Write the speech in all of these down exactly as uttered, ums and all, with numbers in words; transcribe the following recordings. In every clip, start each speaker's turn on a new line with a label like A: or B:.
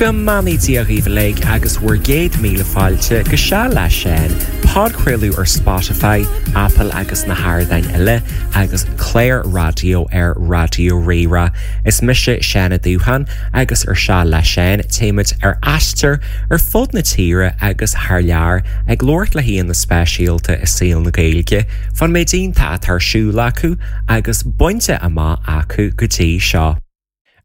A: Go mbeannaí Dia dhaoibh uilig agus bhur gcéad míle fáilte go Seal le Seán, podchraoladh ar Spotify, Apple agus na hardáin eile agus clár raidió ar Raidió Rí-Rá. Is mise Seán Ó Dúcháin agus ar Seal le Seán téimid ar aistear ar fud na tíre agus thar lear ag labhairt le haíonna speisialta i saol na Gaeilge, fán méid iontach atá ar siúl acu agus bainte amach acu go dtí seo.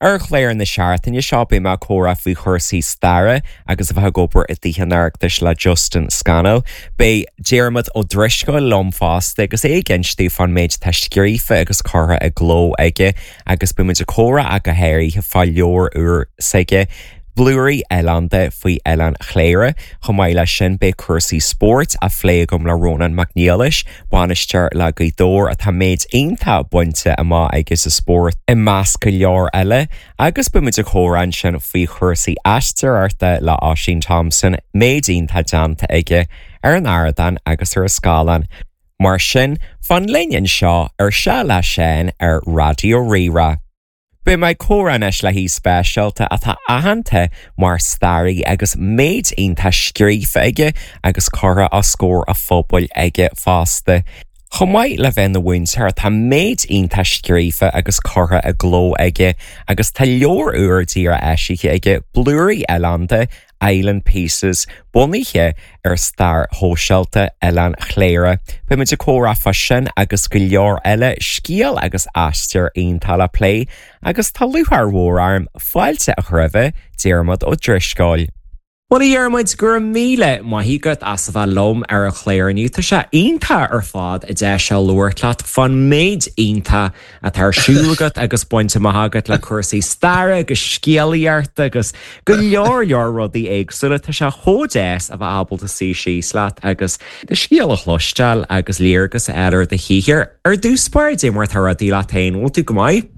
A: Ar chlár na seachtaine seo beidh mé ag comhrá faoi chúrsaí staire agus a bheith ag obair i dTithe an Oireachtais le Justin Scannell. Beidh Diarmuid Ó Drisceoil liom fosta agus é ag insint fán méid atá scríofa agus curtha i gcló aige agus beimid ag comhrá go háirithe fá leabhar úr s'aige. Blúirí Oileánda faoi Oileán Chléire, chomh maith leis sin beidh cúrsaí spóirt á phlé agam le Rónán Mac Niallais, bainisteoir le Gaoth Dobhair atá méid iontach bainte amach aige sa spórt i measc go leor eile, agus beimid ag comhrá ansin faoi chúrsaí aisteoireachta le Oisín Thompson, méid iontach déanta aige ar an ardán agus ar an scáileán. Mar sin, fan linn anseo ar Seal le Seán ar Raidió Rí-Rá. Beidh mé ag comhrá anois le haoi speisialta atá aitheanta mar staraí agus méid iontach scríofa aige agus curtha os comhair an phobail aige fosta. Chomh maith le bheith ina mhúinteoir tá méid iontach scríofa agus curtha i gcló aige agus tá leabhar úr díreach eisithe aige Blúirí Oileánda Island Pieces bunaithe ar stair shóisialta Oileán Chléire. Beimid ag comhrá fá sin agus go leor eile scéal agus aistear iontach le plé agus tá lúcháir mhór orm fáilte a chur roimh Diarmuid Ó Drisceoil. Well a Dhiarmuid go raibh míle maith agat as a bheith liom ar an chlár inniu Tá sé iontach ar fad an deis seo labhairt leat fán méid iontach atá ar siúl agat agus bainte amach agat le cúrsaí staire agus scéalaíochta agus go leor leor rudaí éagsúla Tá sé chomh deas a bheith ábalta suí síos leat agus do scéal a chloisteáil agus léargas a fháil ar do shaothar. Ar dtús báire cad é mar atá rudaí leat féin, bhfuil tú go maith?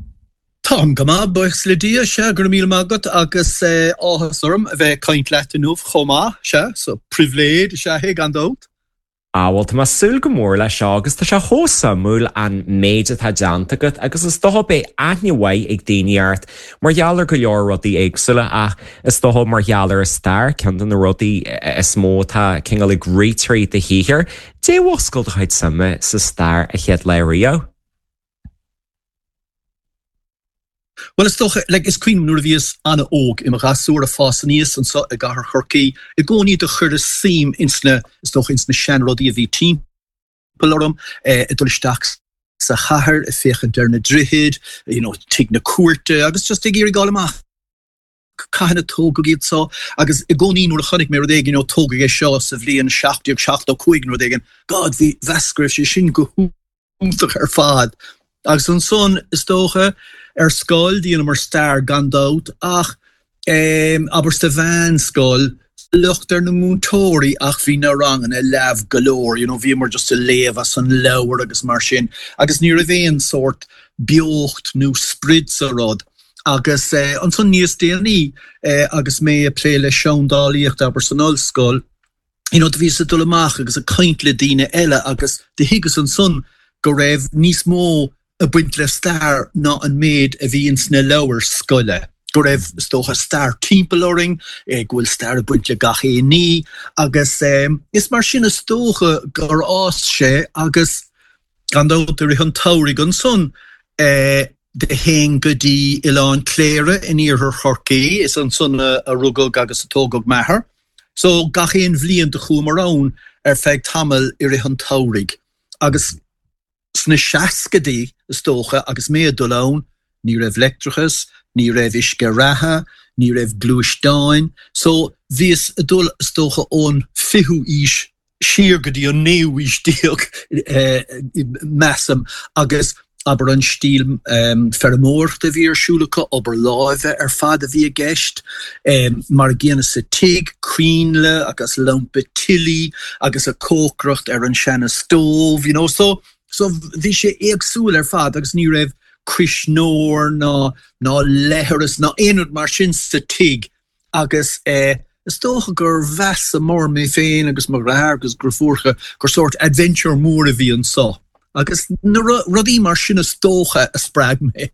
B: Táim go maith buíochas le Dia sea go raibh míle maith agat agus áthas orm a bheith ag caint leat inniu chomh maith sea so pribhléid is ea é gan dabht.
A: Ah, well tá mé ag súil go mór leis seo agus tá sé chomh suimiúil an méid atá déanta agat agus is dócha beidh aithne mhaith ag daoine ort mar gheall ar go leor rudaí éagsúla ach is dócha mar gheall ar an stair ceann de na rudaí is mó atá cineál ag rith trí do shaothar. Cad é a mhúscail do chuid suime sa stair an chéad lá riamh.
B: Bhuel is dócha, like, is cuimhin nuair a bhíos an-óg i mo ghasúr ag fás aníos anseo i gcathair Chorcaí, i gcónaí do chuireas suim ins na, is dócha, ins na seanrudaí a bhí timpeall orm, eh, ag dul isteach sa chathair, ag féachaint ar na droichid, you know, tigh na cúirte agus just ag iarraidh fháil amach cathain a tógadh iad so agus i gcónaí nuair a chonaic mé rud éigin, you know, tógadh é seo sa bhliain seacht déag seachtó cúig nó rud éigin, God, bhí, mheas go raibh sé sin go hiontach ar fad. Agus ansan, is dócha, ar scoil, dheineamar stair gan dabht, ach abair sa mheánscoil, locht ar na múinteoirí ach bhí na ranganna leamh go leor, you know, bhíomar just ag léamh as an leabhar agus mar sin agus ní raibh aon sórt beocht nó sprid sa rud. Agus ansan níos déanaí agus mé ag plé le seandálaíocht, abair san ollscoil, you know, do bhíos ag dul amach agus ag caint le daoine eile agus do thuigeas ansan go raibh níos mó ag baint le stair ná an méid a bhí ins na leabhair scoile, go raibh, is dócha, stair timpeall orainn, go bhfuil stair ag baint le gach aon ní agus is mar sin is dócha gur fhás sé agus gan dabht i rith an tsamhraidh ansan do théinn go dtí Oileán Cléire in iarthar Chorcaí, is ansan a rugadh agus a tógadh m'athair. So gach aon bhliain do chuamar ann ar feadh tamaill i rith an tsamhraidh agus sna seascaidí is dócha agus mé ag dul ann ní raibh leictreachas, ní raibh uisce reatha, ní raibh gluaisteáin so bhíos ag dul is dócha ón fichiú aois siar go dtí an naoú haois déag, measaim, agus abair an stíl feirmeoireachta a bhí ar siúl acu, obair láimhe ar fad a bhí i gceist, mar an gcéanna sa tigh, coinnle agus lampa tillí agus ag cócaireacht ar an seana stove, you know, so so bhí sé éagsúil ar fad agus ní raibh cuisneoir ná ná leithreas ná aon rud mar sin sa tigh. Agus is dócha gur mheasamar, mé féin agus mo dheartháir agus deirfiúracha, gur sórt adventure mór a bhí anso. Agus na rudaí mar sin is dócha a spreag mé.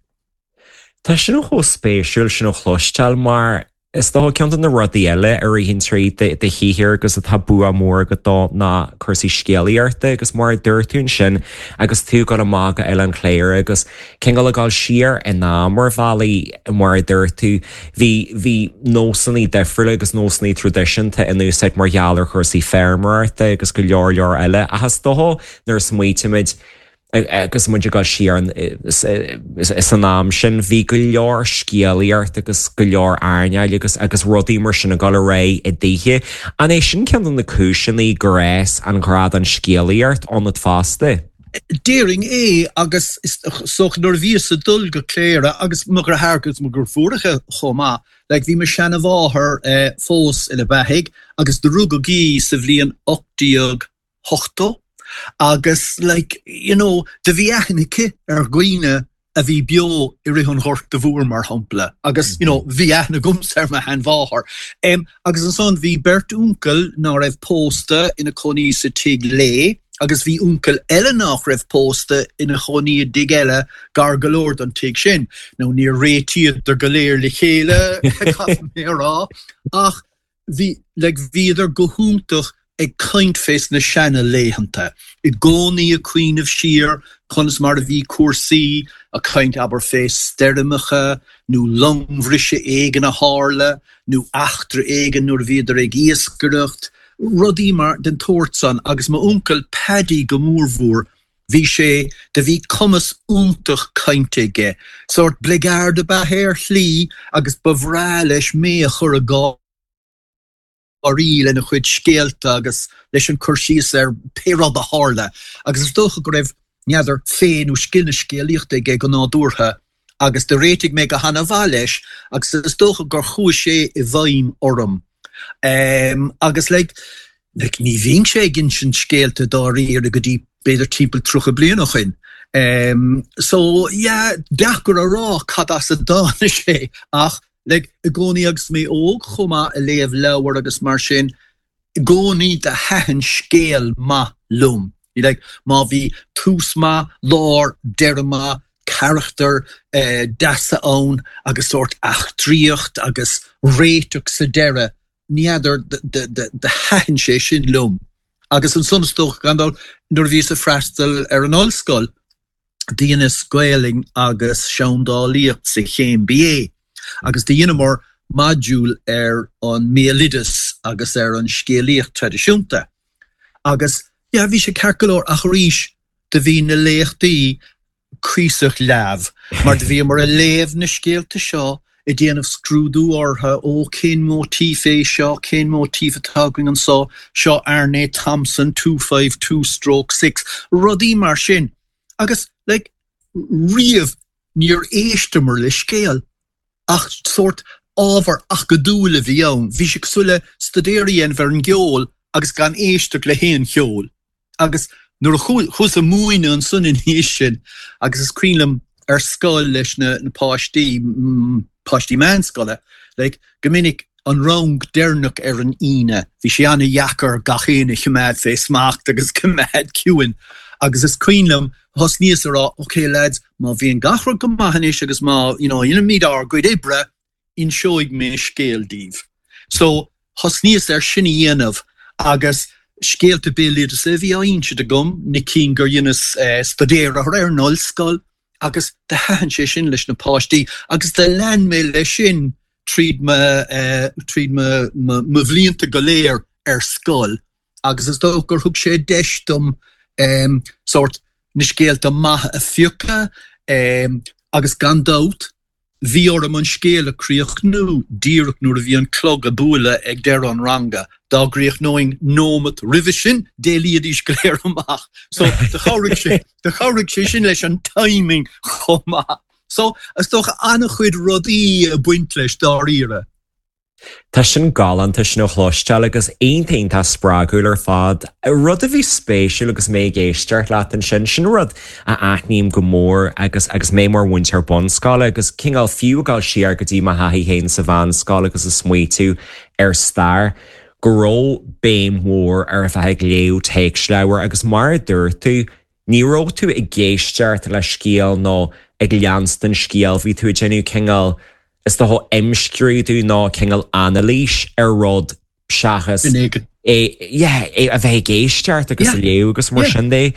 A: Tá sin chomh spéisiúil sin a chloisteáil mar Is dócha ceann de na rudaí eile a ritheann trí do shaothar agus atá bua mór agat dó ná cúrsaí scéalaíochta agus mar a dúirt tú ansin agus tú ag dul amach go Oileán Chléire agus cineál ag dul siar in am ar bhealaí mar a dúirt tú bhí bhí nósanna difriúla agus nósanna traidisiúnta in úsáid mar gheall ar chúrsaí feirmeoireachta agus go leor leor eile ach is dócha nuair a smaoitímid agus muid ag dul siar san am sin bhí go leor scéalaíocht agus go leor airneáil agus agus rudaí mar sin ag dul ar aghaidh i dtithe. An é sin ceann de na cúiseanna gur fhás an grá don scéalaíocht ionat fosta?
B: Déarfainn é agus is dócha nuair a bhíos ag dul go Cléire agus mo dheartháir agus mo dheirfiúracha chomh maith, like bhí mo sheanamháthair fós ina beathaigh agus do rugadh í sa bhliain ocht déag ochtó agus like you know do bhí aithne aici ar dhaoine a bhí beo i rith an Ghorta Mhór mar shampla agus you know bhí aithne agamsa ar mo sheanmháthair. Um, agus ansan bhí beirt uncail ná raibh pósta ina cónaí sa tigh léi agus bhí uncail eile nach raibh pósta ina chónaí i dtigh eile gar go leor don tigh sin. Now níor réitíodar go léir le chéile caithfidh mé a rá ach bhí like bhíodar go hiontach ag caint fés na seana laethanta, i gcónaí ag cuimhneamh siar conas mar a bhí cúrsaí, ag caint abair fé stoirmeacha nó longbhriseadh éigin a tharla nó eachtra éigin nuair a bhíodar ag iascaireacht, rudaí mar den tsórt san agus m'uncail Paddy go mórmhór, bhí sé, do bhí cumas iontach cainte aige, sórt bligeard ab ea é ar shlí agus ba bhreá leis mé a chur ag gáirí lena chuid scéalta agus leis an cur síos ar pé rud a tharla agus is dócha go raibh, n'fheadar, féith nó scil na scéalaíochta aige go nádúrtha agus do réitigh mé go hana-mhaith leis agus is dócha gur chuaigh sé i bhfeidhm orm. Agus like, like ní bhínnse ag insint scéalta dáiríre go dtí b'fhéidir timpeall tríocha bliain ó shin. So yeah, deacair a rá cad as a dtáinig sé ach Like, i gcónaí agus mé óg chomh maith ag léamh leabhar agus mar sin, i gcónaí do thaitin scéal maith liom. Like, má bhí tús maith, lár, deireadh maith, carachtair deasa ann agus sórt eachtraíocht agus réiteach sa deireadh, ní fheadar, do thaitin sé sin liom. Agus ansan is dócha, gan dabht, nuair a bhíos ag freastal ar an ollscoil, Dheineas Gaelainn agus Seandálaíocht sa chéim BA agus do dheineamar modúl ar an mbéaloideas agus ar an scéalaíocht traidisiúnta. Agus yeah bhí sé ceart go leor ach arís do bhí na léachtaí cuíosach leamh mar do bhíomar ag léamh na scéalta seo ag déanamh scrúdú orthu, ó cén móitíf é seo, cén móitíf atá againn anso, seo Aarne Thompson two five two stroke six, rudaí mar sin. Agus, like, riamh níor éisteamar le scéal ach sórt ábhar acadúil a bhí ann. Bhí sé cosúil le staidéar a dhéanamh ar an gceol agus gan éisteacht le haon cheol. Agus nuair a chuas ag múineadh ansan ina dhiaidh sin, agus is cuimhin liom ar scoil leis na páistí, páistí meánscoile, like, go minic an rang deireanach ar an Aoine, bhí sé an-dheacair gach éinne a choimeád fé smacht agus coimeád ciúin. Agus is cuimhin liom, thosnaíos a rá, ok lads, má bhíonn gach rud go maith anois agus má, you know, dhéanaimid ár gcuid oibre, inseoidh mé scéal daoibh. So, thosnaíos ar sin a dhéanamh agus scéalta béaloideasa a bhí á insint agam, na cinn gur dheineas staidéar orthu ar an ollscoil agus do thaitin sé sin leis na páistí agus do lean mé leis sin tríd mo, tríd mo, mo bhlianta go léir ar scoil agus is dócha gur thug sé deis dom sórt na scéalta maithe a phiocadh agus gan dabht bhí orm an scéal a chríochnú díreach nuair a bhí an clog ag bualadh ag deireadh an ranga. Dá gcríochnóinn nóimeat roimhe sin, d'éalaídís go léir amach. So do chabhraigh sé, do chabhraigh sé sin leis an timing chomh maith. So is dócha an-chuid rudaí ag baint leis dáiríre.
A: Tá sin galánta sin a chloisteáil agus iontach iontach spreagúil ar fad. Rud a bhí spéisiúil agus mé ag éisteacht leat ansin, sin rud a aithním go mór agus agus mé mar mhúinteoir bunscoile agus cineál fiú ag dul siar go dtí mo thaithí féin sa mheánscoil agus ag smaoitiú ar stair, go raibh béim mhór ar a bheith ag léamh téacsleabhar agus mar a dúirt tú, ní raibh tú ag éisteacht le scéal nó ag leanstan scéal, bhí tú ag déanamh cineál is dócha imscrúdú nó cineál anailís ar rud seachas é é a bheith ag éisteacht agus a léamh agus mar sin de.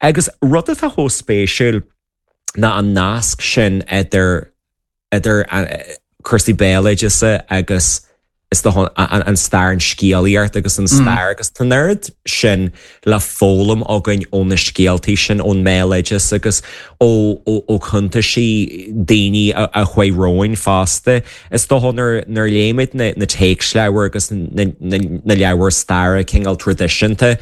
A: Agus rud atá chomh spéisiúil ná an nasc sin idir idir cúrsaí béaloideasa agus is dócha an stair an scéalaíocht agus an mm. stair agus tá an oiread sin le foghlaim againn ó na scéaltaí sin ón mbéaloideas agus ó ó chuntaisí daoine a chuaigh romhainn fosta. Is dócha nuair a léimid na, na téacsleabhair agus na, na, na leabhair staire cineál traidisiúnta,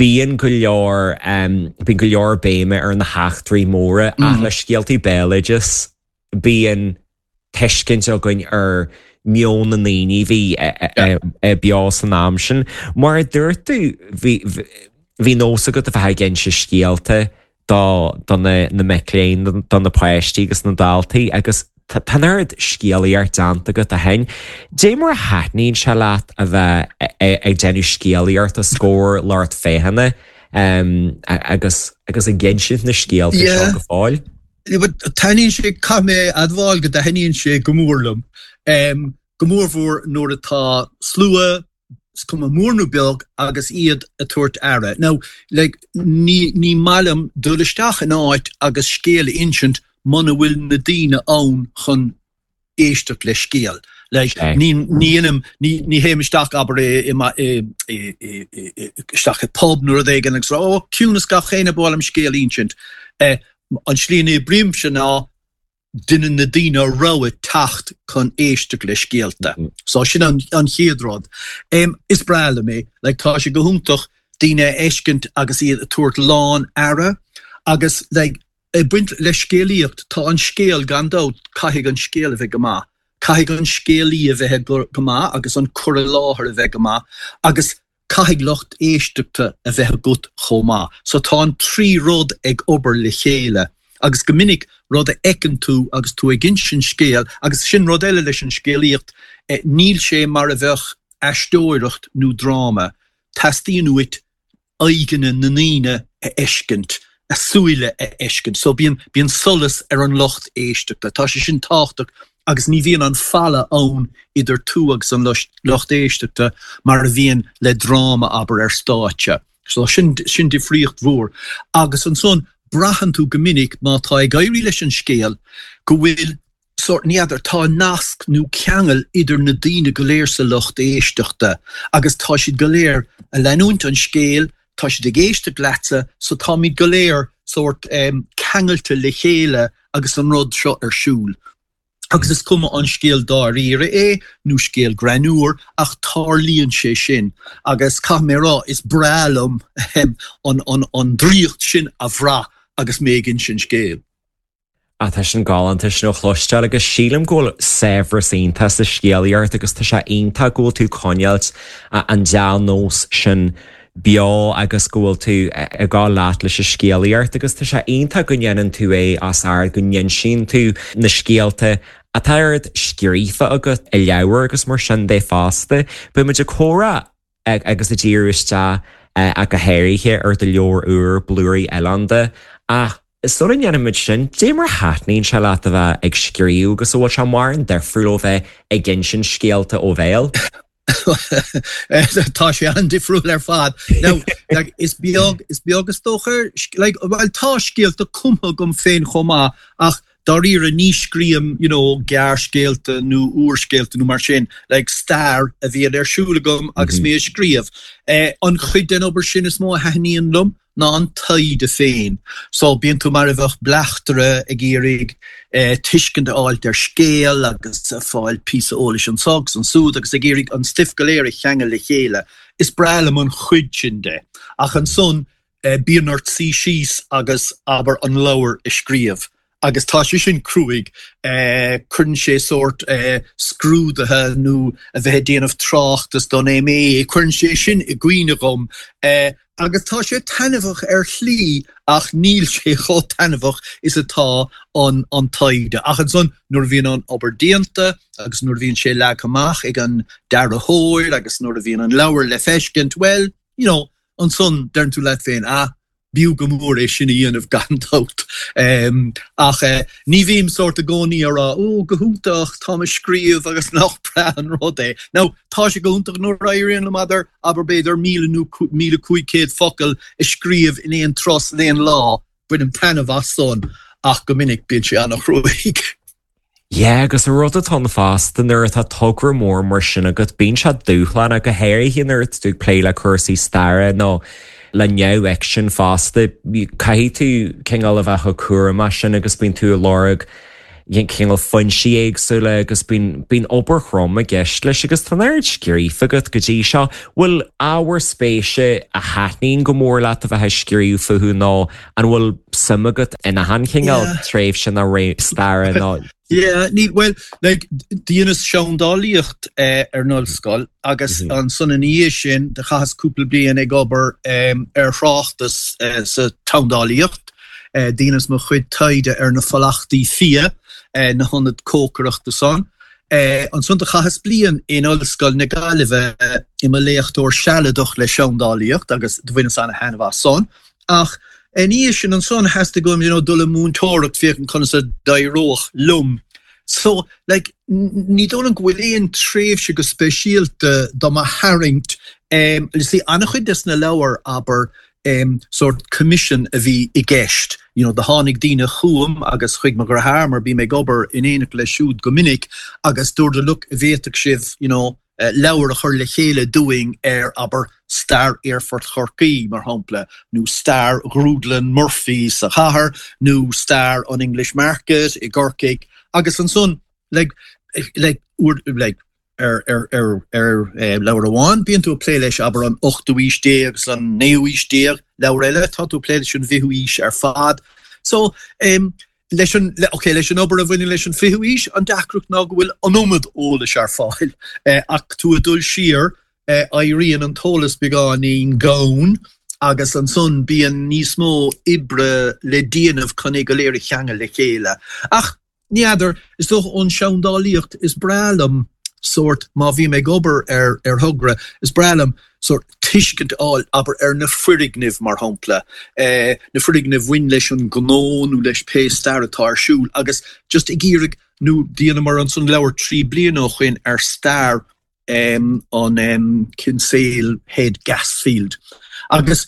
A: bíonn go leor um, bíonn go leor béime ar na heachtraí móra mm. ach le scéaltaí béaloideas bíonn tuiscint againn ar meon na ndaoine bhí beo san am sin. Mar a dúirt tú bhí nós agat a bheith ag inse scéalta do do na na mic léinn do na páistí agus na daltaí agus tá an oiread scéalaíocht déanta agat ó shin. Dé mar a thaitníonn sé leat a bheith ag déanamh scéalaíocht os comhair lucht féachana agus agus ag insint na scéalta seo go fóill?
B: Taitníonn sé caithfidh mé a admháil go dtaitníonn sé go mór liom. Go mórmhór nuair atá slua, is cuma mór nó beag, agus iad ag tabhairt aire. Now, like, ní, ní maith liom dul isteach in áit agus scéal a insint muna bhfuil na daoine ann chun éisteacht le scéal. Like, ní, ní dhéanaim, ní, ní théim isteach, abair, i, i, i, i, i, isteach i pub nó rud éigin agus rá, oh, ciúnas gach éinne, ba mhaith liom scéal a insint. Eh, an tslí a n-oibrímse ná déanann na daoine rogha teacht chun éisteacht le scéalta. So sin an an chéad rud. Em, is breá liom é, like tá sé go hiontach daoine a fheiscint agus iad ag tabhairt lán aire agus like ag baint le scéalaíocht, tá an scéal gan dabht, caithfidh an scéal a bheith go maith. Caithfidh an scéalaí a bheith go go maith agus an cur i láthair a bheith go maith agus caithfidh lucht éisteachta a bheith agat chomh maith. So tá an trí rud ag obair le chéile agus go minic rud a fheiceann tú agus tú ag insint scéil, agus sin rud eile leis an scéalaíocht, níl sé mar a bheadh aisteoireacht nó dráma, teastaíonn uait aghaidheanna na ndaoine a fheiscint, a súile a fheiscint. So bíonn, bíonn solas ar an lucht éisteachta. Tá sé sin tábhachtach agus ní bhíonn an falla ann idir tú agus an lucht éisteachta mar a bhíonn le dráma, abair, ar stáitse. So sin, sin difríocht mhór. Agus ansan, braitheann tú go minic má tá ag éirí leis an scéal go bhfuil sórt, ní fheadar, tá nasc nó ceangal idir na daoine go léir sa lucht éisteachta agus tá siad go léir a leanúint an scéil, tá siad ag éisteacht leatsa so táimid go léir sórt ceangailte le chéile agus an rud seo ar siúl. Agus is cuma an scéal dáiríre é nó scéal greannmhar ach tarlaíonn sé sin agus caithfidh mé a rá is breá liom an an an draíocht sin a bhrath agus mé ag insint scéil.
A: Ah tá sin galánta sin a chloisteáil agus sílim go bhfuil saibhreas iontach sa scéalaíocht agus tá sé iontach go bhfuil tú ag coinneáilt an dea-nós sin beo agus go bhfuil tú ag gabháil leat leis an scéalaíocht agus tá sé iontach go ndéanann tú é os ard, go n-insíonn tú na scéalta atá oiread scríofa agat i leabhair agus mar sin de fosta. Beidh muid ag comhrá agus ag díriú isteach ach go háirithe ar do leabhar úr Blúirí Oileánda ach sula ndéanfaidh muid sin, dé mar a thaitníonn sé leat a bheith ag scríobh agus an bhfuil sé mórán difriúil ó bheith ag insint scéalta ó bhéal?
B: Tá sé an-difriúil ar fad. Now, like, is beag, is beag is dócha, like, well, tá scéalta cumtha agam féin chomh maith ach dáiríre ní scríobhaim, you know, gearrscéalta nó úrscéalta nó mar sin, like, stair a bhíonn ar siúl agam agus mé ag scríobh. Eh, an chuid den obair sin is mó a thaitníonn liom ná an taighde féin. So bíonn tú mar a bheadh bleachtaire ag iarraidh tuiscint a fháilt ar scéal agus ag fáil píosa eolais anso agus ansúd agus ag iarraidh an stuif go léir a cheangal le chéile. Is breá liom an chuid sin de. Ach ansan bíonn ort suí síos agus, abair, an leabhar a scríobh. Agus tá sé sin cruaidh. Cuireann sé sórt scrúduithe nó a bheith ag déanamh tráchtas don MA, cuireann sé sin i gcuimhne dhom. Agus tá sé taitneamhach ar shlí ach níl sé chomh taitneamhach is atá an an taighde. Ach ansan nuair a bhíonn an obair déanta agus nuair a bhíonn sé leagtha amach ag an dearthóir agus nuair a bhíonn an leabhar le feiscint, bhuel, you know, ansan deireann tú leat féin, ah, B'fhiú go mór é sin a dhéanamh gan dabht. Ach ní bhím sórt i gcónaí a rá, 'Ó, go hiontach, táim ag scríobh agus nach breá an rud é. Now, tá sé go hiontach nuair a éiríonn liom abair, abair b'fhéidir míle nó míle cúig chéad focal a scríobh in aon turas in aon lá, bainim taitneamh as san, ach go minic bíonn sé an-chruaidh.
A: Yeah, agus an rud atá ann fosta nuair atá togra mór mar sin agat, bíonn sé dúshlánach, go háirithe nuair atá tú ag plé le cúrsaí staire nó le neamhfhicsean fosta. Caithfidh tú cineál a bheith chomh cúramach sin agus bíonn tú ag lorg cineál foinsí éagsúla agus bíonn bíonn obair throm i gceist leis agus tá an oiread scríofa agat go dtí seo. Bhfuil ábhar spéise a thaitníonn go mór leat a bheith ag scríobh fúthu nó an bhfuil suim agat in achan chineál tréimhse nó ré staire nó
B: Yeah, ní well like dheineas seandálaíocht eh, ar an ollscoil agus mm -hmm. ansan ina dhiaidh sin do chaitheas cúpla bliain ag obair um, ar thráchtas uh, sa tseandálaíocht. Uh, dheineas mo chuid taighde ar na fulachtaí fia uh, na hionaid cócaireachta san. Uh, ansan do chaitheas bliain in Ollscoil na Gaillimhe uh, i mo léachtóir sealadach le seandálaíocht agus do bhaineas ana-thaitneamh as san. Ach ina dhiaidh sin ansan theastaigh uaim you know, dul i múinteoireacht féachaint conas a d'éireodh liom. So like, ní dóigh liom go bhfuil aon tréimhse go speisialta do mo tharraingt um, see, an-chuid des na leabhair abair um, sort commission a bhí i gceist. You know, do tháinig daoine chugam agus chuig mo dheartháir mar bím ag obair in éineacht leis siúd go minic agus dúradar look bhféadfadh sibh you know, uh, leabhar a chur le chéile dúinn ar abair stair Aerfort Chorcaí mar shampla, nó stair Ghrúdlann Murphy sa chathair, nó stair an English Market i gCorcaigh agus ansan like, like, like, ar ar ar ar eh, leabhar amháin bíonn tú ag plé leis abair an ochtú haois déag agus an naoú haois déag leabhar eile tá tú ag plé leis an bhfichiú haois ar fad. So um, leis an le, okay, leis an obair a bhaineann leis an fichiú haois an deacracht ná go bhfuil an iomad eolais ar fáil eh, ach tú ag dul siar eh, éiríonn an t-eolas beagáinín gann agus ansan bíonn níos mó oibre le déanamh chun é go léir a cheangal le chéile. Ach n'fheadar is dócha ón seandálaíocht is breá liom sórt má bhím ag obair ar ar thogra is breá liom sórt tuiscint a fháil abair ar na foirgnimh mar shampla eh, na foirgnimh a bhain leis an gnó nó leis pé stair atá ar siúl agus just ag iarraidh nó dheineamar ansan leabhar trí bliana ó shin ar stair um, an um, Kinsale Head Gasfield. Agus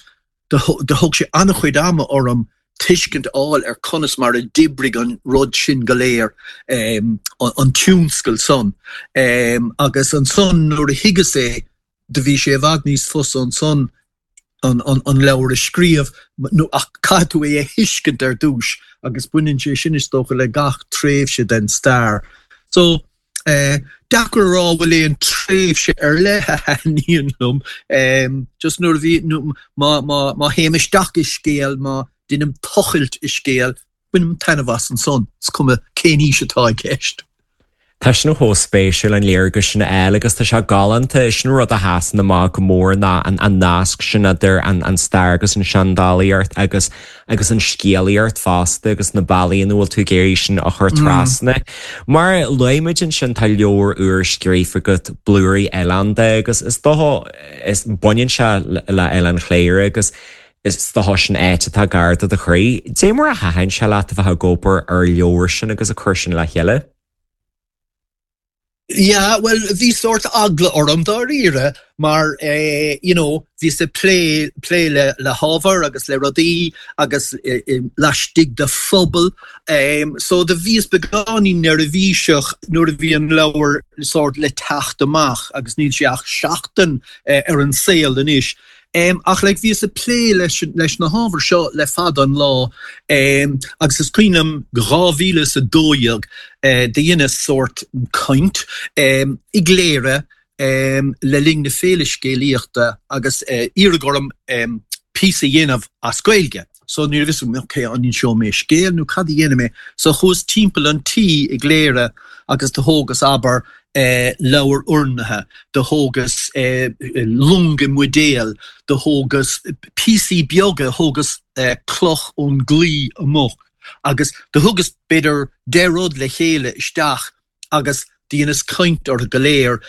B: do thóg sé an-chuid ama orm tuiscint a fháil ar conas mar a d'oibrigh an rud sin go léir um, an, an tionscal san. Um, agus ansan nuair a thuigeas é do bhí sé i bhfad níos fusa ansan an, an, an leabhar a scríobh nó ach caithfidh tú é a thuiscint ar dtús agus baineann sé sin is dócha le gach tréimhse den stair. So eh, deacair a rá bhfuil aon tréimhse ar leith a thaitníonn liom um, just nuair a bhí má má má théim isteach i scéal má deinim tochailt i scéal bainim taitneamh as ansan is cuma cén aois atá i gceist.
A: Tá sin chomh spéisiúil an léargas sin a fháil agus tá sé galánta sin rud a sheasann amach go mór ná an an nasc sin idir an an stair agus an seandálaíocht agus agus an scéalaíocht fosta agus na bealaí ina bhfuil tú ag iarraidh sin a chur trasna. Mar luaigh muid ansin tá leabhar úr scríofa agat Blúirí Oileánda agus is dócha is baineann sé le Oileán Chléire agus is dócha sin áit atá gar do do chroí. Dé mar a thaitin sé leat a bheith ag obair ar leabhar sin agus a chur sin le chéile?
B: Yeah, well bhí sórt eagla orm dáiríre mar eh, you know, bhíos ag plé plé le le hábhar agus le rudaí agus eh, eh, laistigh de phobal. Um, so do bhíos beagáinín neirbhíseach nuair a bhí an leabhar sórt le teacht amach agus níl sé ach seachtain eh, ar an saol anois. Um, ach like, bhíos ag plé leis, leis na hábhair seo le fada an lá um, agus is cuimhin liom dhá mhíle is a dó dhéag uh, dheineas sórt caint um, i gCléire um, le linn na féile scéalaíochta agus uh, iarradh orm um, píosa a dhéanamh as Gaeilge. So ní raibh a fhios agam okay, an inseoidh mé scéal nó cad a dhéanfaidh mé, so chuas timpeall an tí i gCléire agus do thógas abair eh, leabhar urnaithe, do thógas eh, longa mbuidéal, do thógas píosaí beaga, thógas eh, cloch ón gclaí amuigh. Agus do thugas b'fhéidir deich rud le chéile isteach agus dheineas caint orthu go léir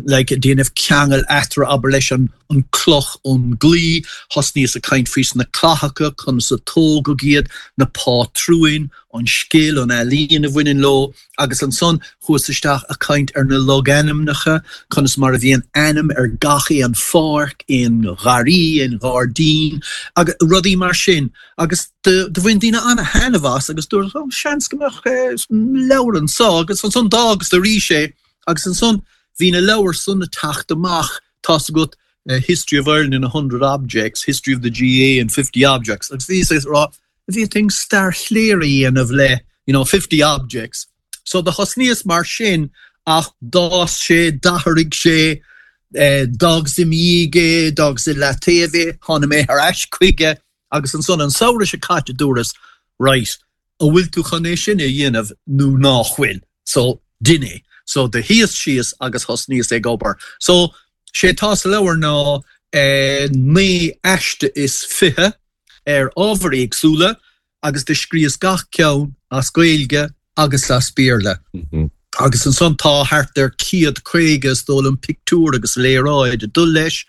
B: like, déanamh ceangal eatarthu abair leis an, an an cloch ón gclaí, thosnaíos ag caint faoi na clathacha, conas a tógadh iad, na pátrúin, an scil, an ealaín a bhaineann leo, agus ansan chuas isteach ag caint ar na logainmneacha, conas mar a bhíonn ainm ar gach aon pháirc, aon gharraí, aon ghairdín, agus rudaí mar sin. Agus do bhain daoine ana-thaitneamh as agus dúirt, oh, seans go mbeadh leabhar anso, agus ansan d'fhágas arís é, agus ansan bhí na leabhair san ag teacht amach, tá's agat, History of Ireland in a hundred objects, History of the GAA in fifty objects, agus bhíos ag rá, bhféadfainn stair Chléire a dhéanamh le, you know, fifty objects. So do thosnaíos mar sin ach d'fhás sé, d'athraigh sé, d'fhágas i mo dhiaidh é, d'fhágas i leataobh é, tháinig mé ar ais chuige agus ansan an samhradh seo caite dúras, right, an bhfuil tú chun é sin a dhéanamh nó nach bhfuil? So, dein é. So do shuíos síos agus thosnaíos ag obair. So, sé atá sa leabhar ná naoi aiste is fiche ar ábhair éagsúla agus do scríos gach ceann as Gaeilge agus as Béarla. Agus ansan tá thart ar céad caoga is dóigh liom pictiúr agus léaráid ag dul leis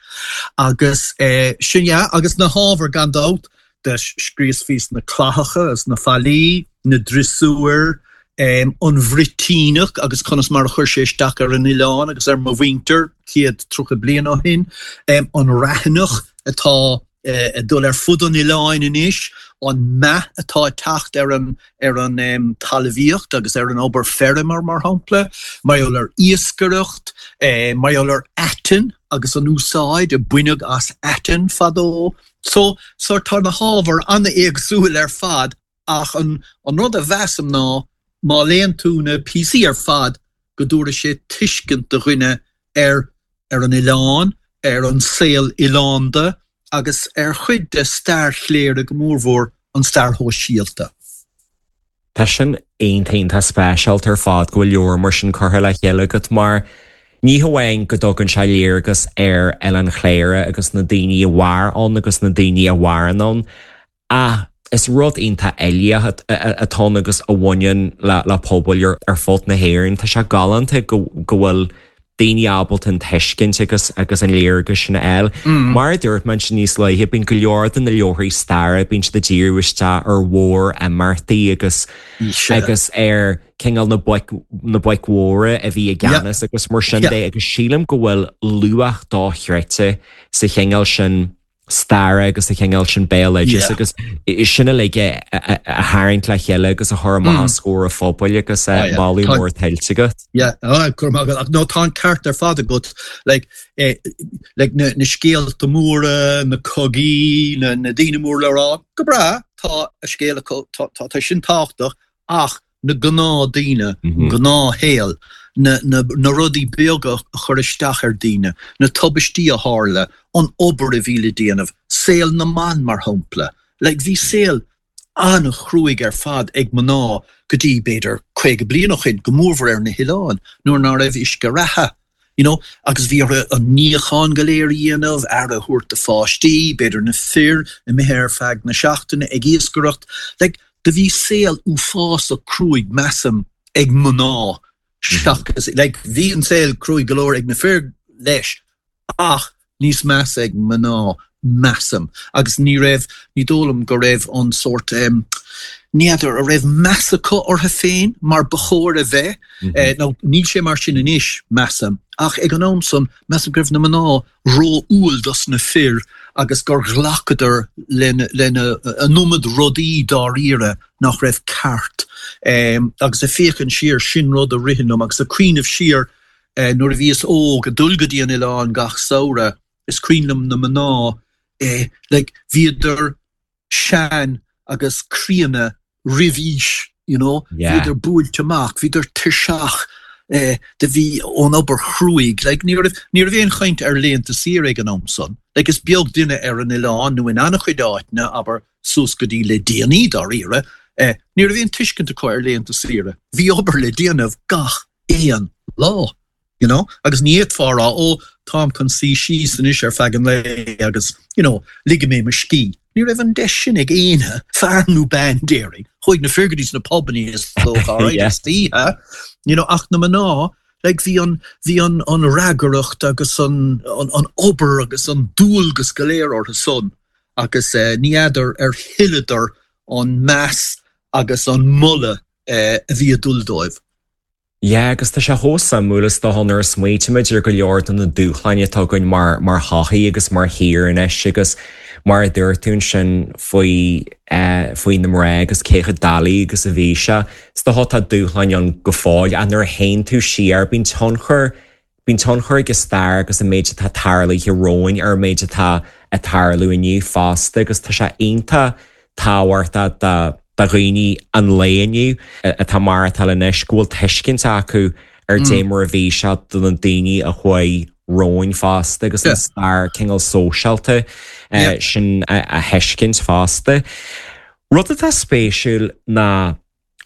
B: agus sin yeah agus na hábhair gan dabht do scríos faoi sna clathacha is na fallaí, na driosúir, an Bhruitíneach agus conas mar a chuir sé isteach ar an oileán agus ar mo mhuintir céad tríocha bliain ó shin, an raithneach atá ag dul ar fud an oileáin anois, an meath atá ag teacht ar an ar an talmhaíocht agus ar an obair feirme mar shampla, mar gheall ar iascaireacht, mar gheall ar aiteann agus an úsáid a baineadh as aiteann fadó. So, so tá na hábhair an-éagsúil ar fad ach an an rud a mheasaim ná má léann tú na píosaí ar fad go dtabharfaidh sé tuiscint do dhuine ar ar an oileán, ar an saol oileánda agus ar chuid de stair Chléire go mórmhór an stair shóisialta.
A: Tá sin iontach speisialta ar fad go bhfuil leabhar mar sin curtha le chéile agat mar ní hamháin go dtugann sé léargas ar Oileán Chléire agus na daoine a mhair ann agus na daoine a mhaireann ann ach is rud iontach uilíoch atá ann agus a bhaineann le pobail ar fud na hÉireann. Tá sé galánta go bhfuil daoine ábalta an tuiscint agus agus an léargas sin a fháil. Mar a dúirt mé ansin níos luaithe, bíonn go leor de na leabharthaí staire, bíonn siad ag díriú isteach ar mhór-imeachtaí agus agus ar cineál na boic na boic mhóra a bhí i gceannas agus mar sin de agus sílim go bhfuil luach dochreidte sa chineál sin staire agus sa chineál sin béaloideas agus sin uilig a tharraingt le chéile agus a chur amach os comhair an phobail agus moladh mór tuillte agat.
B: Yeah, go raibh maith agat. No, tá an ceart ar fad agat. Like, eh, like na, na scéalta móra, na cogaí, na, na daoine mór le rá, go breá, tá a scéal acu, tá, tá, tá sin tábhachtach, ach na gnáthdaoine, an gnáthshaol, na na rudaí beaga a chuir isteach ar daoine, na tubaistí a tharla, an obair a bhí le déanamh, saol na mban mar shampla. Like bhí saol an-chruaidh ar fad ag mná go dtí b'fhéidir caoga bliain ó shin, go mórmhór ar na hoileáin, nuair ná raibh uisce reatha. You know, agus bhí orthu an níochán go léir a dhéanamh, aire a thabhairt do pháistí, b'fhéidir na fir imithe ar feadh na seachtaine ag iascaireacht. Like, do bhí saol uafásach cruaidh, measaim, ag mná seachas, like, bhí an saol cruaidh go leor ag na fir leis ach níos measa ag mná, measaim. Agus ní raibh, ní dóigh liom go raibh an sórt, em, ní fheadar, an raibh meas acu orthu féin mar ba chóir a bheith, eh, nó níl sé mar sin anois, measaim. Ach ag an am san, measaim go raibh na mná ró-umhal dos na fir agus gur ghlacadar lena an iomad rudaí dáiríre nach raibh ceart. Agus ag féachaint siar, sin rud a ritheann liom agus ag cuimhneamh siar nuair a bhíos óg ag dul go dtí an oileán gach samhradh, is cuimhin liom na mná, like, bhíodar sean agus críonna roimh aois, you know, bhíodar buailte amach, bhíodar tuirseach do bhí ón obair chruaidh, like, ní raibh, ní raibh aon chaint ar laethanta saoire ag an am san, like, is beag duine ar an oileán nó in an-chuid áiteanna, abair, suas go dtí le déanaí dáiríre, ní raibh aon tuiscint acu ar laethanta saoire, bhí obair le déanamh gach aon lá. You know? Agus ní fhéadfá a rá, ó, táim chun suí síos anois ar feadh an lae agus, you know, ligfidh mé mo scíth. Ní raibh an deis sin ag éinne, fear nó bean, déarfainn. Chuaigh na fir go dtí sna pubannaí is dócha, alright, istoíche, you know, ach na mná, Like bhí an bhí an an fhreagracht agus an an, an obair agus an dualgas go léir orthu san agus eh, ní fheadar ar thuilleadar an meas agus an moladh eh, a bhí ag dul dóibh.
A: Yeah, agus tá sé chomh suimiúil is dócha nuair a smaoinímid ar go leor de na dúshláin atá againn mar mar shochaí agus mar thír anois agus mar a dúirt tú sin faoi eh, faoi na mná agus cé chomh doiligh agus a bhí sé. Is dócha tá dúshláin ann go fóill a nuair a théann tú siar bíonn tionchar bíonn tionchar ag an stair agus an méid atá tarlaithe romhainn ar an méid atá ag tarlú inniu fosta agus tá sé iontach tábhachtach do do dhaoine an lae inniu atá mar atá anois go bhfuil tuiscint acu ar dé mar a bhí sé do na daoine a chuaigh romhainn fosta agus an stair cineál sóisialta sin a thuiscint fosta. Rud atá spéisiúil ná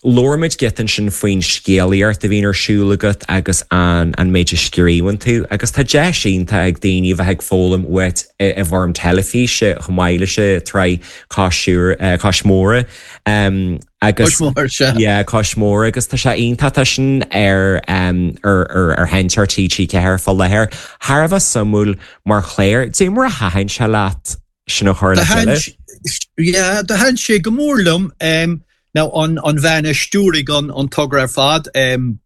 A: labhair muid giota ansin faoin scéalaíocht a bhíonn ar siúl agat agus an an méid a scríobhann tú, agus tá deis iontach ag daoine bheith ag foghlaim uait i bhfoirm teilifíse chomh maith leis an tsraith Cois Móire agus Cois Móire agus tá sé iontach tá sin ar ar ar sheinnteoir TG Ceathair fá láthair. Thar a bheith suimiúil mar chlár, dé mar a thaitin sé leat sin a chur le chéile?
B: Yeah, do thaitin sé go mór liom. Um, Now an an bhean a stiúraigh an an togra ar fad um,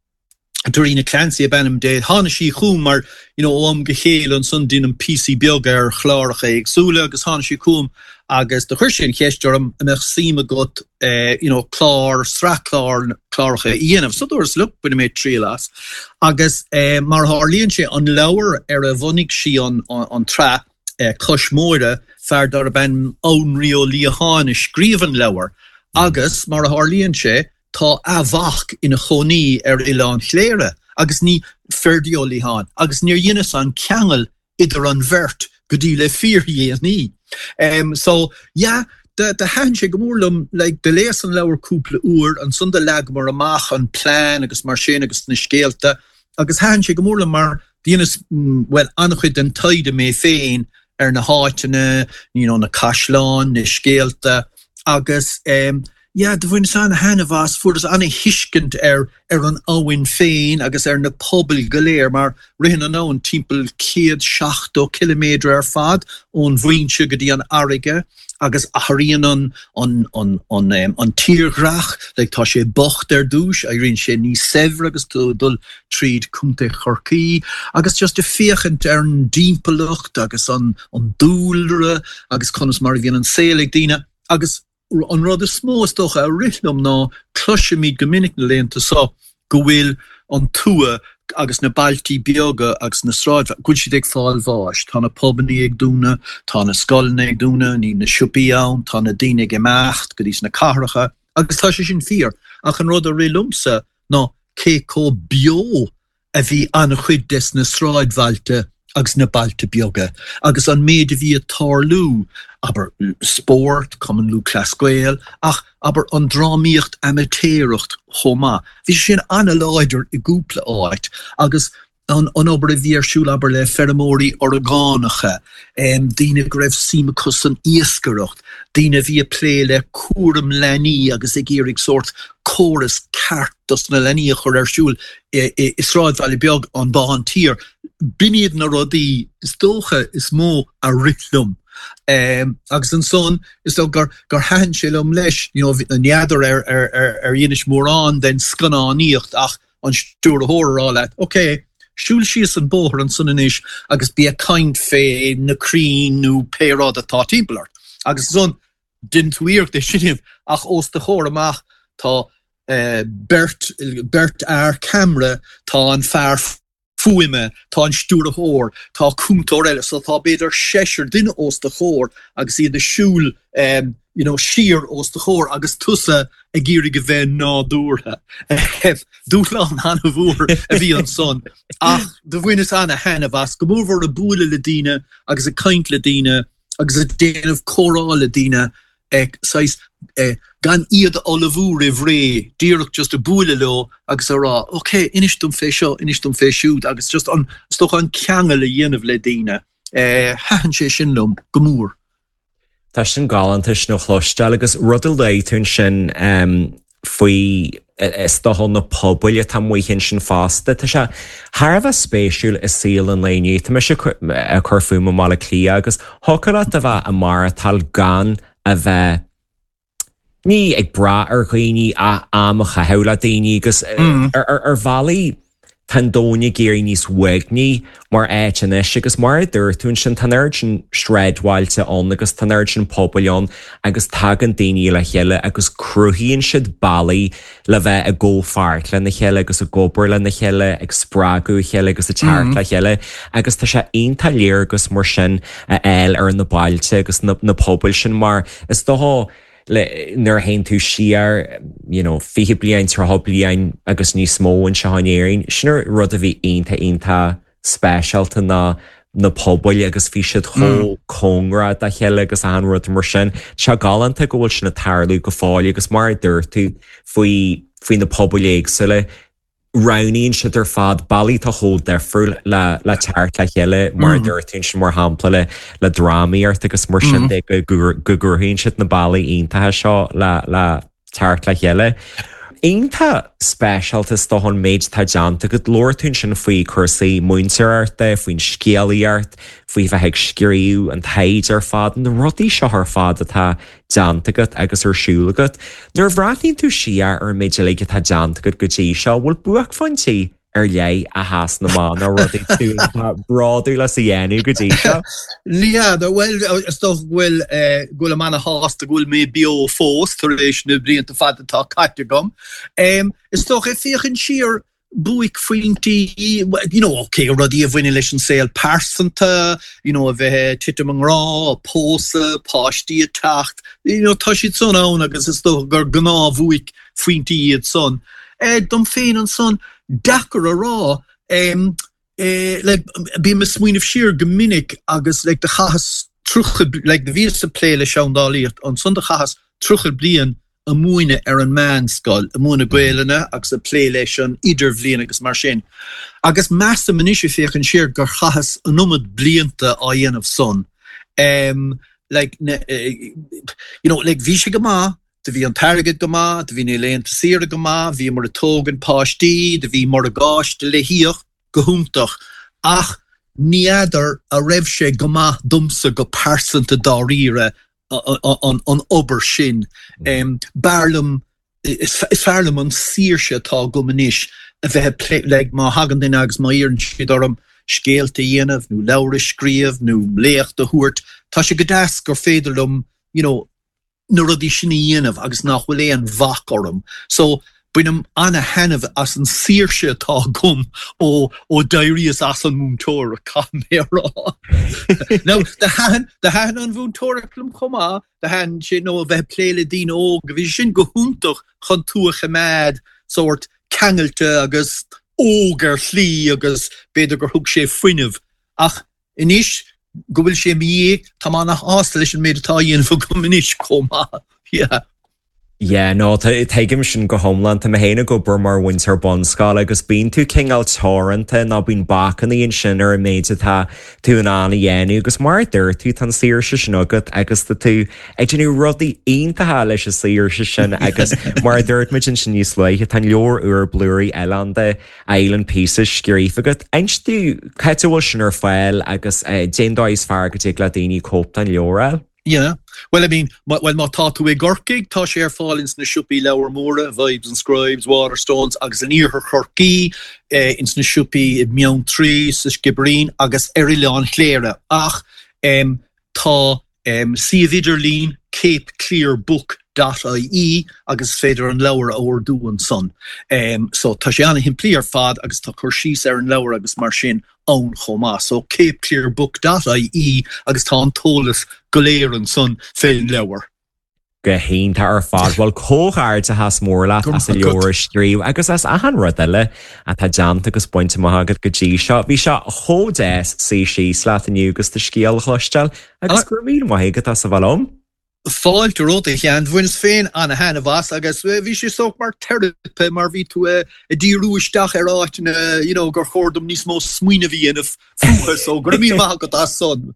B: Doireena Clancy ab ainm di tháinig sí chugam mar you know, ó am go chéile ansan déanaim píosaí beaga ar chláracha éagsúla agus tháinig sí chugam agus do chuir sí an cheist orm an mbeadh suim agat uh, you know, clár sraith clár cláracha a dhéanamh. So dúras look bainfidh mé triail as. Agus uh, mar tharlaíonn sé an leabhar ar a bhunaigh sí an, an, an tsraith uh, Cois Móire fear darb ainm Annraoi Ó Liatháin a scríobh an leabhar. Agus mar a tharlaíonn sé tá a mhac ina chónaí ar Oileán Chléire agus ní Ferdie Ó Liatháin agus níor dheineas an ceangal idir an bheirt go dtí le fíordhéanaí. Um, so yeah, do do thaitin sé go mór liom like, do léas an leabhar cúpla uair ansan do leagamar amach an plean agus mar sin agus na scéalta agus thaitin sé go mór liom mar dheineas mm, well an-chuid den taighde mé féin ar na háiteanna, you know, na caisleáin, na scéalta agus um, yeah, do bhaineas an-taitneamh as fuaireas an-thuiscint ar ar an abhainn féin agus ar na pobail go léir mar ritheann an abhainn timpeall céad seachtó ciliméadar ar fad ón bhfoinse go dtí an fharraige agus athraíonn an an an an um, an tírdhreach like, tá sé bocht ar dtús éiríonn sé níos saibhre agus tú ag dul tríd Contae Chorcaí agus just ag féachaint ar an dtimpeallacht agus an an dúlra agus conas mar a bhíonn an saol ag daoine agus an rud is mó is dócha a rith liom ná cloisimid go minic na laethanta seo go bhfuil an tuath agus na bailtí beaga agus na sráid go bhfuil siad ag fáil bháis. Tá na pubanna ag dúnadh, tá na scoileanna ag dúnadh, níl na siopaí ann, tá na daoine ag imeacht go dtí na cathracha, agus tá sé sin fíor ach an rud a rith liomsa ná cé chomh beo a bhí an-chuid des na sráidbhailte agus na bailte beaga, agus an méid a bhí ag tarlú abair spórt, Cumann Lúthchleas Gael, ach abair an drámaíocht amaitéarach chomh maith. Bhí sin an-láidir i gcúpla áit agus an, an obair a bhí ar siúl abair le feirmeoirí orgánacha, um, daoine go raibh suim acu san iascaireacht, daoine a bhí ag plé le cúram leanaí agus ag iarraidh sórt córas ceart dos na leanaí a chur ar siúl i, i, i sráidbhaile beag an Bán Tiar. B'in iad na rudaí is dócha is mó a rith liom. Um, agus ansan is dócha gur gur thaitin sé liom leis you know, ní fheadar ar ar ar ar dheinis mórán den scannánaíocht ach an stiúrthóir a rá leat, Ok, siúil síos an bóthar ansan anois agus bí ag caint fé na crainn nó pé rud atá timpeall ort. Agus ansan déanann tú iarracht é sin ach os do chomhair amach tá uh, beirt beirt fhear ceamara tá an fear fuaime, tá an stiúrthóir, tá cúntóir eile, so tá b'fhéidir seisear duine os do chomhair agus iad ag siúl um, you know, siar os do chomhair agus tusa ag iarraidh a bheith nádúrtha. Dúshlán an-mhór a bhí ansan. Ach do bhaineas an-taitneamh as go mórmhór ag bualadh le daoine agus ag caint le daoine agus ag déanamh comhrá le daoine ag saghas eh, gan iad a ullmhú roimh ré díreach just ag bualadh leo agus a rá, Ok, inis dom fé seo, inis dom fé siúd agus just an is dócha an ceangal a dhéanamh le daoine. Eh, thaitin sé sin liom go mór.
A: Tá sin galánta sin a chloisteáil agus rud a luaigh tú ansin um, faoi is dócha na pobail atá amuigh ansin fosta. Tá sé thar a bheith spéisiúil i saol an lae inniu. Tá mise ag cur fúm i mBaile Átha Cliath agus thiocfadh leat a bheith ag maireachtáil gan a bheith ní ag brath ar dhaoine ach am a chaitheamh le daoine agus ar bhealaí tá an domhan ag éirí níos uaigní mar áit anois agus mar a dúirt tú ansin tá an oiread sin sráidbhailte ann agus tá an oiread sin pobail ann agus tagann daoine le chéile agus cruthaíonn siad bealaí le bheith i gcomhpháirt lena chéile agus ag obair lena chéile, ag spreagadh a chéile agus ag teacht le chéile agus tá sé iontach léargas mar sin a fháil ar na bailte agus na pobail sin mar is dócha le nuair a théann tú siar you know fiche bliain, tríocha bliain agus níos mó anseo in Éirinn, sin an rud a bhí iontach iontach speisialta ná na pobail agus bhí siad chomh cóngarach dá chéile agus achan rud mar sin. Tá sé galánta go bhfuil sin ag tarlú go fóill agus mar a dúirt tú faoi faoi na pobail éagsúla, roghnaíonn siad ar fad bealaí atá chomh difriúil le le teacht le chéile mar a dúirt tú ansin mar shampla le le drámaíocht agus mar sin de go go gcruthaíonn siad na bealaí iontacha seo le le teacht le chéile. Iontach speisialta is dócha an méid atá déanta agat. Labhair tú ansin faoi chúrsaí múinteoireachta, faoin scéalaíocht, faoi bheith ag scríobh, an taighde ar fad, na rudaí seo ar fad atá déanta agat agus ar siúl agat. Nuair a bhreathnaíonn tú siar ar an méid uilig atá déanta agat go dtí seo, bhfuil buaicphointí ar leith a sheasann amach nó rudaí tú atá bródúil as a dhéanamh go dtí seo?
B: N'fheadar, bhuel, is dócha go bhfuil, go bhfuilim ana-shásta go bhfuil mé beo fós tar éis na blianta fada atá caite agam. Is dócha, ag féachaint siar, buaicphointí, you know, ok, rudaí a bhaineann leis an saol pearsanta, you know, a bheith ag titim i ngrá, pósadh, páistí ag teacht, you know, tá siad san ann agus is dócha gur gnáth-bhuaicphointí iad san. Eh, dom féin ansan, deacair a rá, em, eh, like, bím ag smaoineamh siar go minic agus like do chaitheas tríocha, like do bhíos ag plé le seandálaíocht, ansan do chaitheas tríocha bliain ag múineadh ar an meánscoil, ag múineadh Gaelainne agus ag plé leis an idirbhliain agus mar sin. Agus measaim anois ag féachaint siar gur chaitheas an iomad blianta á dhéanamh san. Em, like, na, you know, like bhí sé go maith, do bhí an t-airgead go maith, do bhí na laethanta saoire go maith, bhíomar ag tógaint páistí, do bhí morgáiste le híoc, go hiontach, ach ní fheadar a raibh sé go maith domsa go pearsanta dáiríre an obair sin. B'fhearr liom, is fearr liom an saoirse atá agam anois a bheith ag plé, like má thagann duine agus má iarrann siad orm scéalta a dhéanamh nó leabhar a scríobh nó léacht a thabhairt, tá sé go deas gur féidir liom, you know, na rudaí sin a dhéanamh agus nach bhfuil aon bhac orm. So, bainim ana-thaitneamh as an saoirse atá agam ó ó d'éiríos as an múinteoireacht, caithfidh mé a rá. Now, do thaitin, do thaitin an mhúinteoireacht liom chomh maith, do thaitin sé, nó a bheith ag plé le daoine óga, bhí sé sin go hiontach chun tú a choimeád sórt ceangailte agus óg ar shlí agus b'fhéidir gur thug sé fuinneamh. Ach Anois go bhfuil sé i mo dhiaidh, tá mé ana-shásta leis an méid atá á dhéanamh agam anois chomh maith. Yeah.
A: Yeah, no, tuigim sin go hiomlán. Tá mé féin ag obair mar mhúinteoir bunscoile agus bíonn tú cineál teoranta nó bíonn bacanna ansin ar an méid atá tú in ann a dhéanamh agus mar a dúirt tú, tá an saoirse sin agat agus tá tú ag déanamh rudaí iontacha leis an saoirse sin agus mar a dúirt muid ansin níos luaithe, tá an leabhar úr Blúirí Oileánda Island Pieces scríofa agat. Inis dúinn cá háit a bhfuil sin ar fáil agus cén dóigh is fearr go dtig le daoine cóip den leabhar a fháil?
B: Yeah. Well, I mean, well, má tá tú i gCorcaigh, tá sé ar fáil ins na siopaí leabhar móra, Vibes and Scribes, Waterstones, agus in iarthar Chorcaí, ins na siopaí i mBeanntraí, sa Sciobairín agus ar Oileán Chléire. Ach tá Suíomh idirlín, capeclearbook dot ie agus is féidir an leabhar a ordú ansan. So tá sé ana-shimplí ar fad agus tá cur síos ar an leabhar agus mar sin ann chomh maith. So capeclearbook dot ie agus tá an t-eolas go léir ansan fén leabhar.
A: Go hiontach ar fad. Bhuel, comhghairdeachas mór leat as an leabhar a scríobh agus as achan rud eile atá déanta agus bainte amach agat go dtí seo. Bhí sé chomh deas suí síos leat inniu agus do scéal a chloisteáil agus go raibh míle maith agat as a bheith liom.
B: Fáilte romhat a Sheáin. Bhaineas féin ana-thaitneamh as agus bhí sé sórt mar teiripe mar bhí tú ag díriú isteach ar áiteanna you know gur chóir dom níos mó smaoineamh a dhéanamh fúthu so go raibh míle maith agat as san.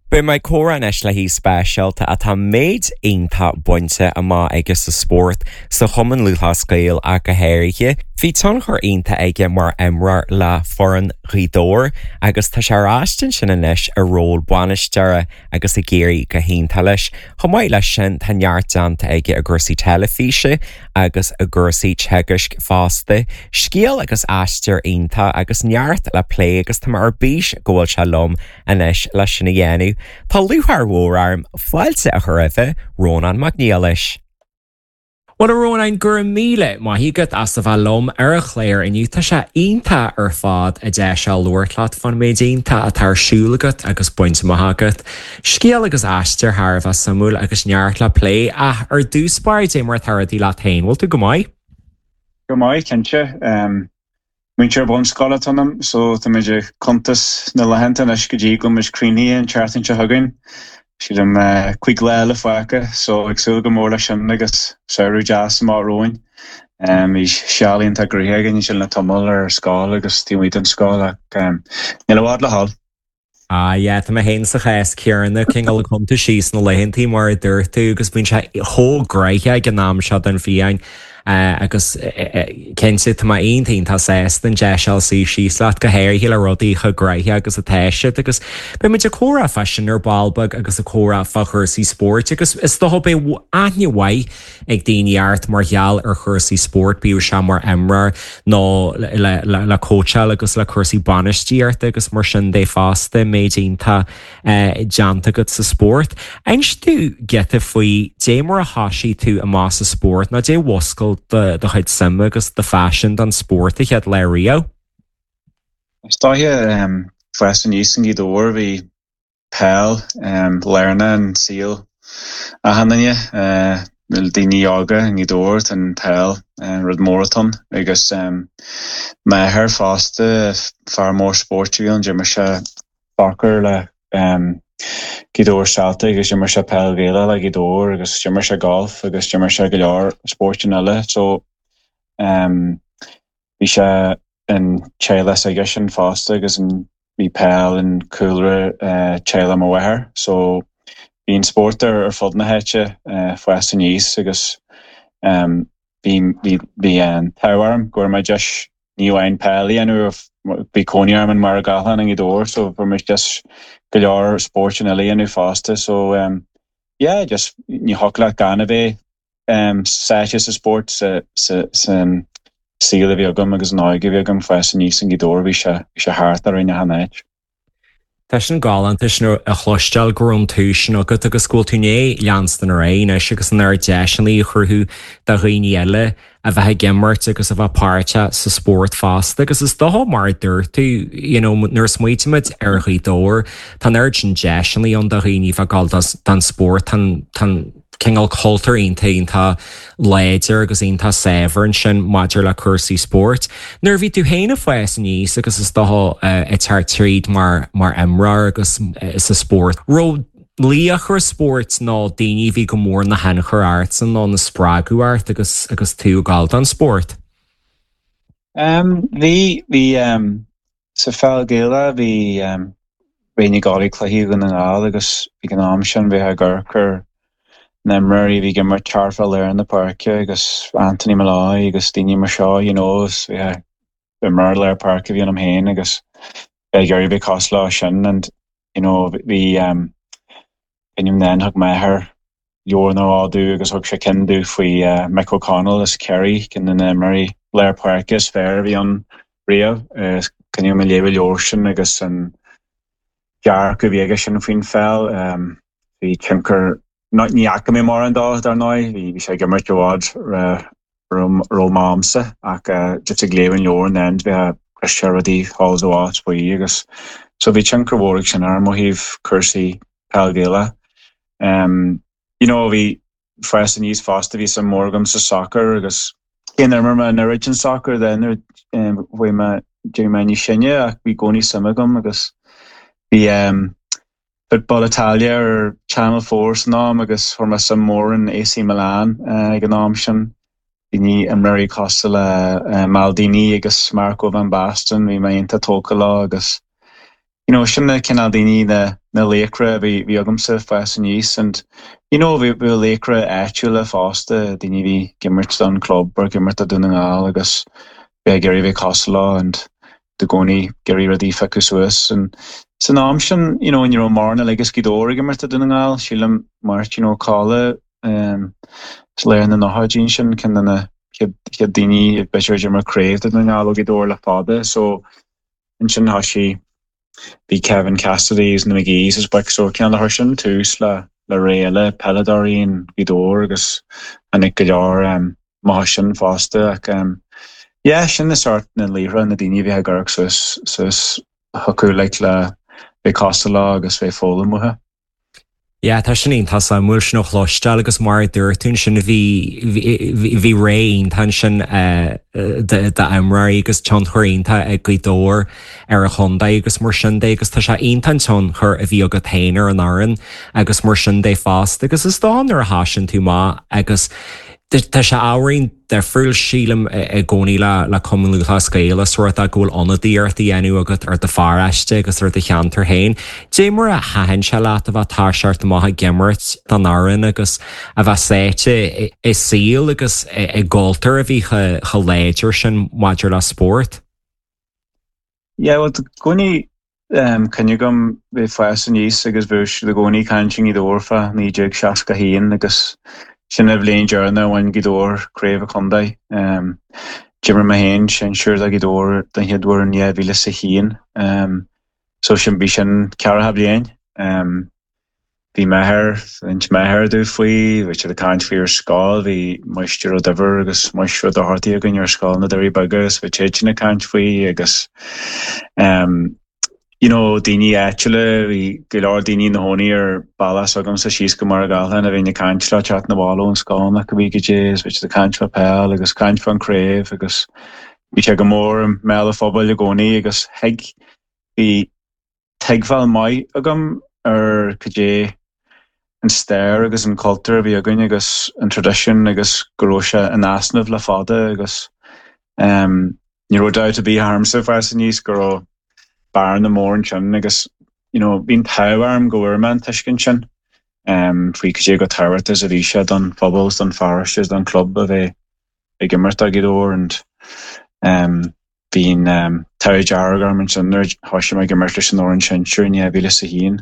A: Beidh mé ag comhrá anois le haoi speisialta atá méid iontach bainte amach aige sa spórt, sa Chumann Lúthchleas Gael ach go háirithe. Bhí tionchar iontach aige mar imreoir le foireann Ghaoth Dobhair agus tá sé ar ais ansin anois i ról bainisteora agus ag éirí go hiontach leis. Chomh maith leis sin tá neart déanta aige i gcúrsaí teilifíse agus i gcúrsaí teagaisc fosta. Scéal agus aistear iontach agus neart le plé agus tá mé ar bís go bhfuil sé liom anois leis sin a dhéanamh. Tá lúcháir mhór orm fáilte a chur roimh Rónán Mac Niallais. Well a Rónáin go raibh míle maith agat as a bheith liom ar an chlár inniu tá sé iontach ar fad an deis seo labhairt leat fán méid iontach atá ar siúl agat agus bainte amach agat. Scéal agus aistear thar a bheith suimiúil agus neart le plé ach ar dtús báire cad é mar atá rudaí leat féin, bhfuil tú go maith?
C: Go maith cinnte. Um, Múinteoir bunscoile atá ionam, so táimid ag cuntas na laethanta anois go dtí go mbeidh cruinnithe an tseachtain seo chugainn. Sílim uh, cúig lá eile fágtha, so ag súil go mór leis sin agus samhradh deas amach romhainn. Um, bhí seal iontach gnoitheach againn sin le tamall ar scoil agus taobh amuigh den scoil ach um, níl i bhfad le dhul.
A: Ah yeah, tá mé féin sa chás céanna cineál ag cuntas síos na laethantaí mar a dúirt tú agus bíonn sé chomh gnoitheach ag an am seo den bhliain agus cinnte tá mé iontach sásta an deis seo suí síos leat go háirithe le rudaí chomh gnoitheach agus atá siad agus beidh muid ag comhrá fá sin ar ball beag agus ag comhrá fá chúrsaí spóirt agus is dócha beidh aithne mhaith ag daoine ort mar gheall ar chúrsaí spóirt bíodh sé mar imreoir nó le, le, le cóitseáil agus le cúrsaí bainistíochta agus mar sin de fosta méid iontach eh, déanta agat sa spórt. Inis domh giota faoi dé mar a thosaigh tú amach sa spórt nó dé mhúscail do do chuid suime agus do phaisean don spórt a chéad lá riamh?
C: Is dóiche um, fás aníos i nGaoth Dobhair bhí peil um, lárnach an saol achan duine uh, daoine óga i nGaoth Dobhair an peil uh, rud mór atá ann agus um, m'athair fosta fear mór spóirt a bhí ann d'imir sé sacar le um, Gaoth Dobhair Celtic agus d'imir sé peil Ghaelach le Gaoth Dobhair agus d'imir sé golf agus d'imir sé go leor spóirt eile so um, bhí sé an teaghlach aige sin fosta agus an bhí peil an cúlra uh, teaghlach mo mháthair so bhí an spórt ar ar fud na háite uh, fás aníos agus um, bhí bhí bhí an t-ádh orm go raibh mé deis ní amháin peil a dhéanamh bhí cónaí orm in Machaire Gathlán i nGaoth Dobhair so bhí mé just go leor spóirt eile a dhéanamh fosta so um, yeah just ní thiocfadh leat gan a bheith um, sáite sa spórt sa sa sa saol a bhí agam agus an óige a bhí agam fás aníos i nGaoth Dobhair bhí sé bhí sé thart ar na háit.
A: Tá sin galánta sin a chloisteáil go raibh an tús sin agat agus go bhfuil tú ag leanstan ar aghaidh anois agus an oiread deiseanna a chruthú do dhaoine eile a bheith ag imirt agus a bheith páirteach sa spórt fosta agus is dócha mar a dúirt tú you know, nuair a smaoinímid ar Ghaoth Dobhair tá an oiread sin deiseanna ann do dhaoine bheith ag gabháil don spórt tá cineál cultúr iontach iontach láidir agus iontach saibhir ansin maidir le cúrsaí spóirt. Nuair bhí tú féin ag fás aníos agus is dócha ag teacht tríd mar mar imreoir agus sa spórt. Raibh laochra spóirt nó daoine bhí go mór ina thionchar ortsa nó ina spreagadh ort agus agus tú ag gabháil don spórt.
C: Um, bhí bhí um, sa pheil Ghaelach bhí um, bhí gálaí cluichí go na gáil agus ag an am sin bhí ag amharc na himreoirí bhí ag imirt thart fá lár na páirce agus Anthony Molloy agus daoine mar seo you know, bhí imreoir lár páirce bhí ionam féin agus bheith ag bheith cosúil leo sin and you know, bhí um, then thug m'athair leabhar nó dhó agus thug sé ceann domh faoi uh, Mick O'Connell as Kerry ceann de na himreoirí lár páirce is fearr a bhí ann riamh cuimhním ag léamh an leabhar sin agus an dearcadh a bhí aige sin faoin pheil um, bhí tionchar ní fhaca mé mar an dá dar ndóigh bhí bhí sé ag imirt i bhfad roimh ach uh, just ag léamh an leabhar an bheith chris rudaí thall is faoi agus so bhí tionchar mhór sin orm ó thaobh cúrsaí peil Ghaelach. Um, you know, bhí fás aníos fosta bhí suim mór agam sa soccer agus cé nár imir mé an oiread sin soccer den um, bhí mé mé níos sine ach bhí i gcónaí suim agam agus bhí um, Football Italia ar Channel Four san am agus chuir mé suim mór in AC Milan uh, ag an am sin. Bhí imreoirí cosúil le uh, Maldini agus Marco van Basten bhí mé iontach tógtha leo agus you know sin na cineál daoine na na laochra a bhí bhí agamsa ag fás aníos and you know bhí bhí laochra áitiúla fosta daoine a bhí ag imirt don club or ag imirt do Dún na nGall agus bheith ag iarraidh bheith cosúil leo and i gcónaí ag iarraidh rudaí a phiocadh suas and san am sin you know ní raibh mórán uilig as Gaoth Dobhair ag imirt do Dún na nGall sílim Máirtín Ó Cadhla um, sa lár na nóchaidí sin ceann de na chéad chéad daoine b'fhéidir a d'imir craobh do Dún na nGall ó Ghaoth Dobhair le fada so ansin thosaigh bhí Kevin Cassidy is na McGee's is boic so ceann le sin tús le le ré eile peileadóirí in Gaoth Dobhair agus tháinig go leor um, maith sin fosta ach um, yeah, sin na sort na laochra na daoine a bhí ag amharc suas suas chucu like le bheith cosúil leo agus bheith foghlaim uathu.
A: Yeah, tá sin iontach suimiúil sin a chloisteáil agus mar a dúirt tú ansin bhí bhí ré iontach ansin d'imreoirí agus tionchar iontach ag Gaoth Dobhair ar a chontae agus mar sin de agus tá sé iontach an tionchar a bhí agat féin ar an fhoireann agus mar sin de fosta agus is dóigh nuair a thosaíonn tú maith agus Tá sé ábhairín difriúil sílim i gcónaí le le Cumann Lúthchleas Gael is rud go bhfuil ionadaíocht á dhéanamh agat ar do pharóiste agus ar do cheantar féin. Dé mar a thaitin sé leat a bheith toiseacht amach ag imirt don fhoireann agus a bheith sáite i saol agus i gcultúr a bhí chomh láidir sin maidir le spórt.
C: Yeah, well, i gcónaí um, cuimhne agam bheith ag fás aníos agus bhí siad i gcónaí ag caint i Gaoth Dobhair fá naoi déag seasca haon agus sin an bhliain deireanach a bhain Gaoth Dobhair craobh an chontae. Um, D'imir mé féin sinsear do Ghaoth Dobhair den chéad uair in dhá mhíle is a haon. Um, so sin bhí sin ceathracha bliain. Um, bhí m'athair d'inis m'athair domh faoi, bhí siad ag caint faoi ar scoil, bhí Máistir Ó Duibhir agus Máistir Ó Dochartaigh againn ar scoil na Doirí Beaga agus bhí siad sin ag caint faoi agus um, you know, daoine áitiúla, bhí go leor daoine ina gcónaí ar bealach s'agamsa síos go Machaire Gathlán a bhíonn ag caint le teacht na bhaile ón scoil nach bhí go dé, bhí siad ag caint fá peil agus caint fán craobh agus bhí sé go mór i mbéal an phobail i gcónaí agus thuig bhí tuigbheáil maith agam ar cad é an stair agus an cultúr a bhí againn agus an tradition agus go raibh sé in easnamh le fada agus um, ní raibh dabht ar bith ormsa ag fás aníos go raibh bearna mór ansin agus you know, bhí an t-ádh orm go bhfuair mé an tuiscint sin um, faoi cad é chomh tábhachtach is a bhí sé don phobal don pharóiste don club a bheith ag imirt do Ghaoth Dobhair and um, bhí an um, t-ádh dearg orm ansin nuair a thosaigh mé ag imirt leis an fhoireann sinsir in dhá mhíle is a haon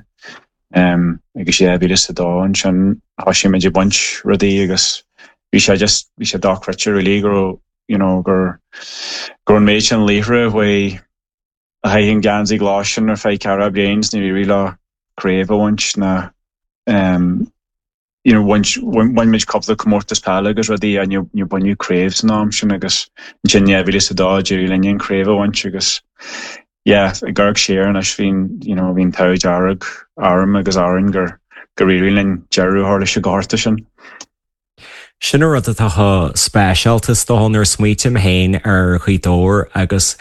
C: um, agus dhá mhíle is a dó ansin thosaigh muid ag baint rudaí agus bhí sé just bhí sé dochreidte really go raibh you know, gur gur an méid sin laochra a a chaith an geansaí glas sin ar feadh ceathracha bliain ní raibh le craobh a bhaint ná um, you know, bhain bhain muid cúpla comórtas peile agus rudaí a ní ní baineadh craobh san am sin agus ansin dhá mhíle is a dó d'éirigh linn an craobh a bhaint agus yeah, ag amharc siar anois bhí'n you know, bhí an t-ádh dearg orm agus orainn gur gur éirigh linn deireadh a chur leis an ngorta sin.
A: Sin an rud atá chomh speisialta is dócha nuair a smaoiním féin ar Ghaoth Dobhair agus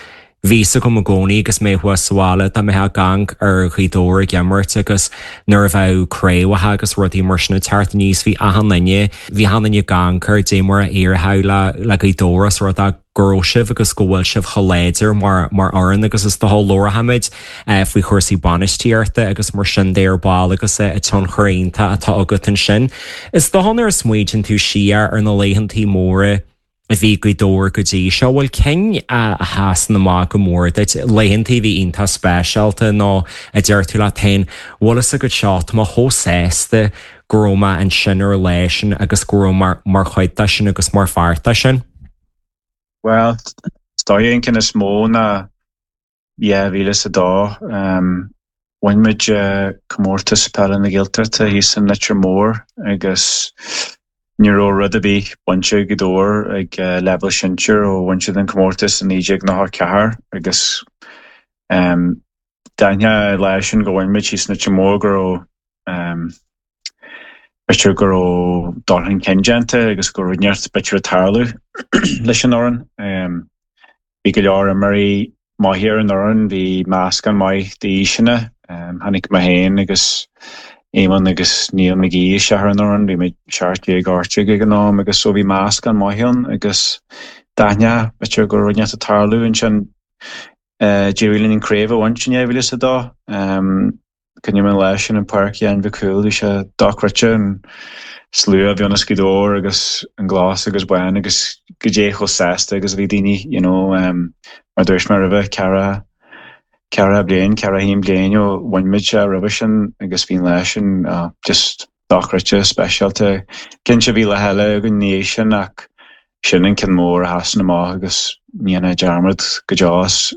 A: bhí a fhios agam i gcónaí agus mé thuas sa bhaile dá mbeifeá ag amharc ar Ghaoth Dobhair ag imirt agus nuair a bheadh craobhacha agus rudaí mar sin ag teacht aníos bhí achan duine bhí achan duine ag amharc ar dé mar a éireodh le le Gaoth Dobhair is rud go raibh sibh agus go bhfuil sibh chomh láidir mar mar fhoireann agus is dócha labharfaimid faoi chúrsaí bainistíochta agus mar sin de ar ball agus a tionchar iontach atá agat ansin. Is dócha nuair a smaoitíonn tú siar ar na laethantaí móra a bhí Gaoth Dobhair go dtí seo bhfuil cinn a sheasann amach go mór duit laethantaí bhí iontach speisialta nó a deir tú leat féin bhfuil fhios agat seo tá mé chomh sásta go raibh mé ansin ar an lá sin agus go raibh mar mar chuid de sin agus mar pháirt de sin.
C: Well, is dóigh an ceann is mó ná dhá mhíle is a dó. Um, bhain muid uh, comórtas peile na Gaeltachta thíos in Leitir Móir agus ní raibh rud ar bith bainte ag Gaoth Dobhair ag uh, leibhéal sinsir ó bhain siad an comórtas in naoi déag nócha ceathair agus um, d'aithneofá lá sin go bhain muid thíos in Leitir Móir go raibh um, b'fhéidir go raibh dul chun cinn déanta agus go raibh neart b'fhéidir ag tarlú leis an fhoireann. Um, bhí go leor imreoirí maithe ar an fhoireann, bhí meascán maith d'aoiseanna, um, tháinig mé féin agus Éamonn agus Neil McGee isteach ar an fhoireann, bhí mé seacht déag ocht déag ag an am agus so bhí meascán maith ann agus d'aithneofá b'fhéidir go raibh neart ag tarlú ansin D'éirigh linn an craobh a bhaint in dhá mhíle is a dó. Cuimhním an lá sin i bPáirc Sheáin Mhic Cumhaill, bhí sé dochreidte an slua a bhí ann as Gaoth Dobhair agus an glas agus bán agus goidé chomh sásta agus a bhí daoine, you know, mar dúirt mé roimhe, ceathracha, ceathracha bliain, ceathracha haon bliain ó bhain muid sé roimhe sin agus bhí an lá sin just dochreidte, speisialta. Cinnte bhí lá eile againn ina dhiaidh sin ach sin an ceann mór a sheasann amach agus ní dhéanfá dearmad go deo as.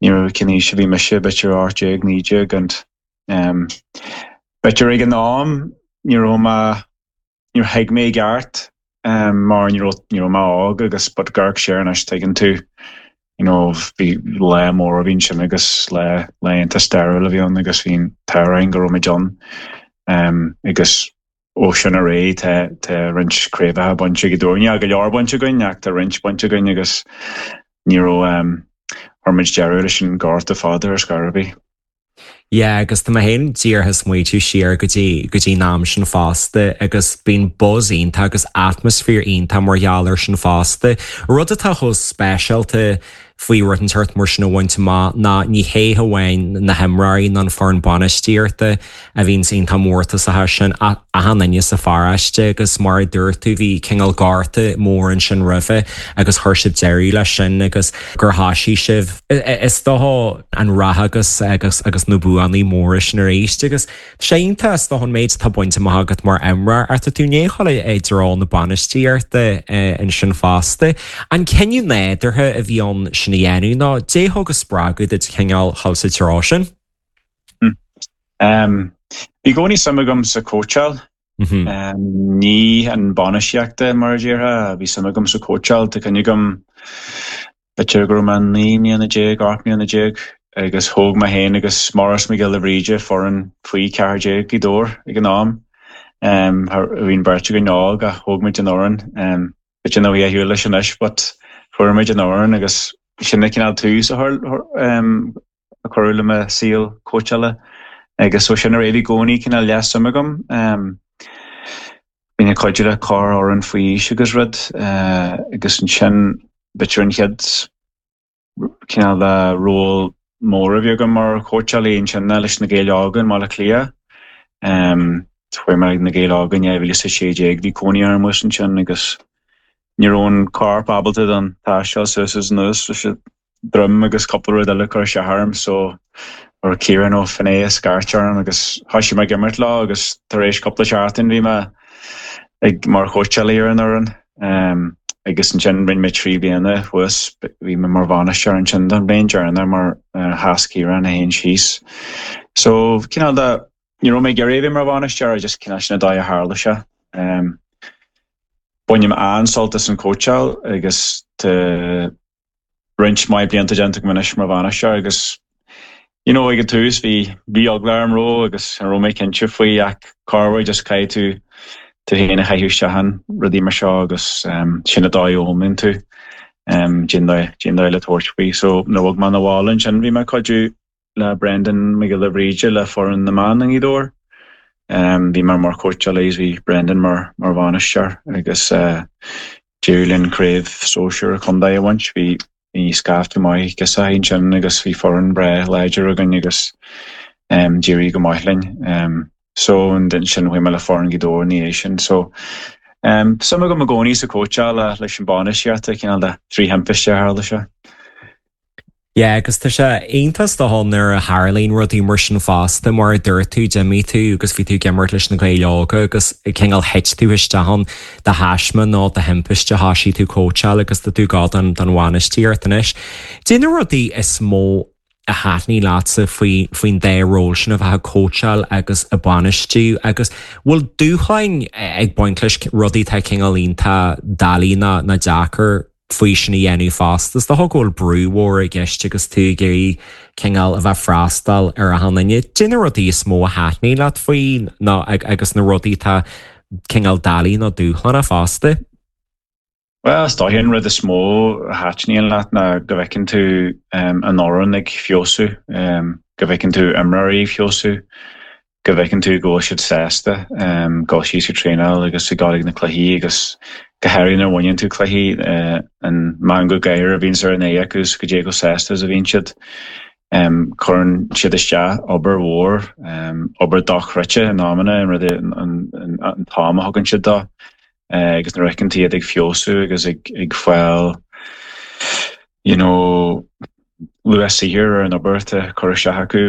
C: Ní raibh cén aois a bhí mise, b'fhéidir ocht déag, naoi déag and b'fhéidir ag an am ní raibh mé, níor thuig mé i gceart mar ní raibh, ní raibh mé óg agus but ag amharc siar anois tuigeann tú you know bhí lá mór a bhí ansin agus lá, lá iontach stairiúil a bhí ann agus bhí an t-ádh orainn go raibh muid ann agus ó sin ar aghaidh tá, tá roinnt craobhacha bainte ag Gaoth Dobhair. Níl go leor bainte againn ach tá roinnt bainte againn agus ní raibh, chuir muid deireadh leis an gorta fada ar scor ar bith.
A: Yeah, agus tá mé féin díreach ag smaoitiú siar go dtí go dtí an am sin fosta agus bíonn buzz iontach agus atmaisféar iontach mar gheall air sin fosta. Rud atá chomh speisialta faoi rud inteacht mar sin a bhaint amach ná ní hé hamháin na himreoirí ná an foireann bainistíochta a bhíonn iontach mórtasach as sin ach achan duine sa pharóiste agus mar a dúirt tú bhí cineál gorta mór ansin roimhe agus chuir sibh deireadh leis sin agus gur thosaigh sibh is dócha an rath agus agus agus na buanna móra sin arís agus tá sé iontach is dócha an méid atá bainte amach agat mar imreoir ach tá tú i ndiaidh dhul i dtreo na bainistíochta ansin fosta. An cinneadh nádúrtha a bhí ann sin a dhéanamh nó cad é a thug an spreagadh duit cineál dhul sa treo sin?
C: Um, bhí i gcónaí suim agam sa cóitseáil. Um, ní an bainistíochta mar a déarfá, bhí suim agam sa cóitseáil, tá cuimhne agam b'fhéidir go raibh mé naoi mbliana déag, ocht mbliana déag agus thóg mé féin agus Maurice Mac Giolla Bhríde foireann faoi ceathair déag Gaoth Dobhair ag an am. Um, bhí an bheirt againn óg ach thóg muid an fhoireann. Um, b'fhéidir nach bhfuil a shiúl leis anois, but fuair muid an fhoireann agus sin an cineál tús a um, a cuireadh le mo saol cóitseála. Agus ó sin ar aghaidh bhí i gcónaí cineál leath-suim agam. Um, Bhínn ag cuidiú le corrfhoireann faoi aois agus rud, uh, agus ansin b'fhéidir an chéad cineál de ról mór a bhí agam mar chóitseálaí ansin ná leis na Gaeil Óga i mBaile Átha Cliath. Um, chuaigh mé ag na Gaeil Óga in dhá mhíle is a sé déag, bhí cónaí orm thuas ansin agus ní raibh an corp ábalta don taisteal suas is anuas leis an droim agus cúpla rud eile cur isteach orm so raibh Ciarán Ó Finneadha ag scairt orm agus thosaigh mé ag imirt leo agus tar éis cúpla seachtain bhí mé ag mar chóitseálaí ar an fhoireann. Um, agus ansin rinne mé trí bliana thuas, bhí mé mar bhainisteoir ansin don bhliain deireanach mar uh, sheas Ciarán é féin síos. So cineál de ní raibh mé ag iarraidh a bheith mar bhainisteoir, just cineál sin an dóigh a tharla sé. Um, Bainim an-sult as an cóitseáil agus tá roinnt mhaith blianta déanta agam anois mar bhainisteoir agus you know, ag an tús bhí bhí eagla orm ró agus an raibh mé cinnte faoi ach corruair just caithfidh tú tú féin a chaitheamh isteach in rudaí mar seo agus um, sin an dóigh a fhoghlaimíonn tú um, cén dóigh le tabhairt faoi. So nuair a bhog mé 'na bhaile ansin bhí mé ag cuidiú le Brendan Mac Giolla Bhríde le foireann na mban i nGaoth Dobhair. Um, bhí mé mar chóitseálaí is bhí Brendan mar mar bhainisteoir agus uh, d'éirigh linn craobh sóisir chontae a bhaint, bhí bhí scaifte maith giosach ansin agus bhí foireann breá láidir againn agus um, d'éirigh go maith linn. Um, so ansin chuaigh mé le foireann Ghaoth Dobhair ina dhiaidh sin. So um, suim agam i gcónaí sa cóitseáil leis an bainistíocht cineál de trí thimpiste a tharla sé.
A: Yeah, agus tá sé iontach is dócha nuair a tharlaíonn rudaí mar sin fosta mar a dúirt tú d'imigh tú agus bhí tú ag imirt leis na Gaeil Óga agus cineál thit tú isteach ann de thaisme nó de thimpiste thosaigh tú cóitseáil agus tá tú ag dul don bhainistíocht anois. Cad é na rudaí is mó a thaitníonn leatsa faoi faoin dá ról sin a bheith ag cóitseáil agus ag bainistiú agus bhfuil dúshláin ag baint leis rudaí tá cineál iontach doiligh ná ná deacair faoi sin a dhéanamh fosta. Is dócha go bhfuil brú mhór i gceist agus tú ag iarraidh cineál a bheith freastal ar achan duine. Cad é na rudaí is mó a thaitníonn leat faoi ná agus na rudaí tá cineál doiligh nó dúshlánach fosta.
C: Well, is dóiche an rud is mó a thaitníonn leat ná go bhfeiceann tú um, an fhoireann ag feabhsú, um, go bhfeiceann tú imreoirí ag feabhsú, go bhfeiceann tú go bhfuil siad sásta um, dul síos ag traenáil agus ag dul ag na cluichí agus Go háirithe nuair a bhaineann tú cluichí, an meangadh gáire a bhíonns ar an aghaidh acu is goidé chomh sásta is a bhíonn siad. Cuireann siad isteach obair mhór, obair dochreidte in amanna, an rud an t-am a thugann siad dó agus nuair a fheiceann tú iad ag feabhsú agus ag fáil you know luach saothair ar an obair atá curtha isteach acu,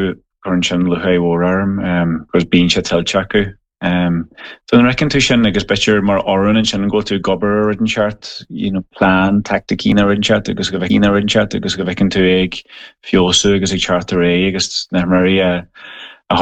C: cuireann sin lúcháir mhór orm agus bíonn sé tuillte acu. So nuair a fheiceann tú sin agus b'fhéidir mar fhoireann ansin go bhfuil tú ag obair ar rud inteacht, you know plean, taicticí nó rud inteacht agus go bhfeiceann rud inteacht agus go bhfeiceann tú ag feabhsú agus ag teacht ar aghaidh agus na himreoirí a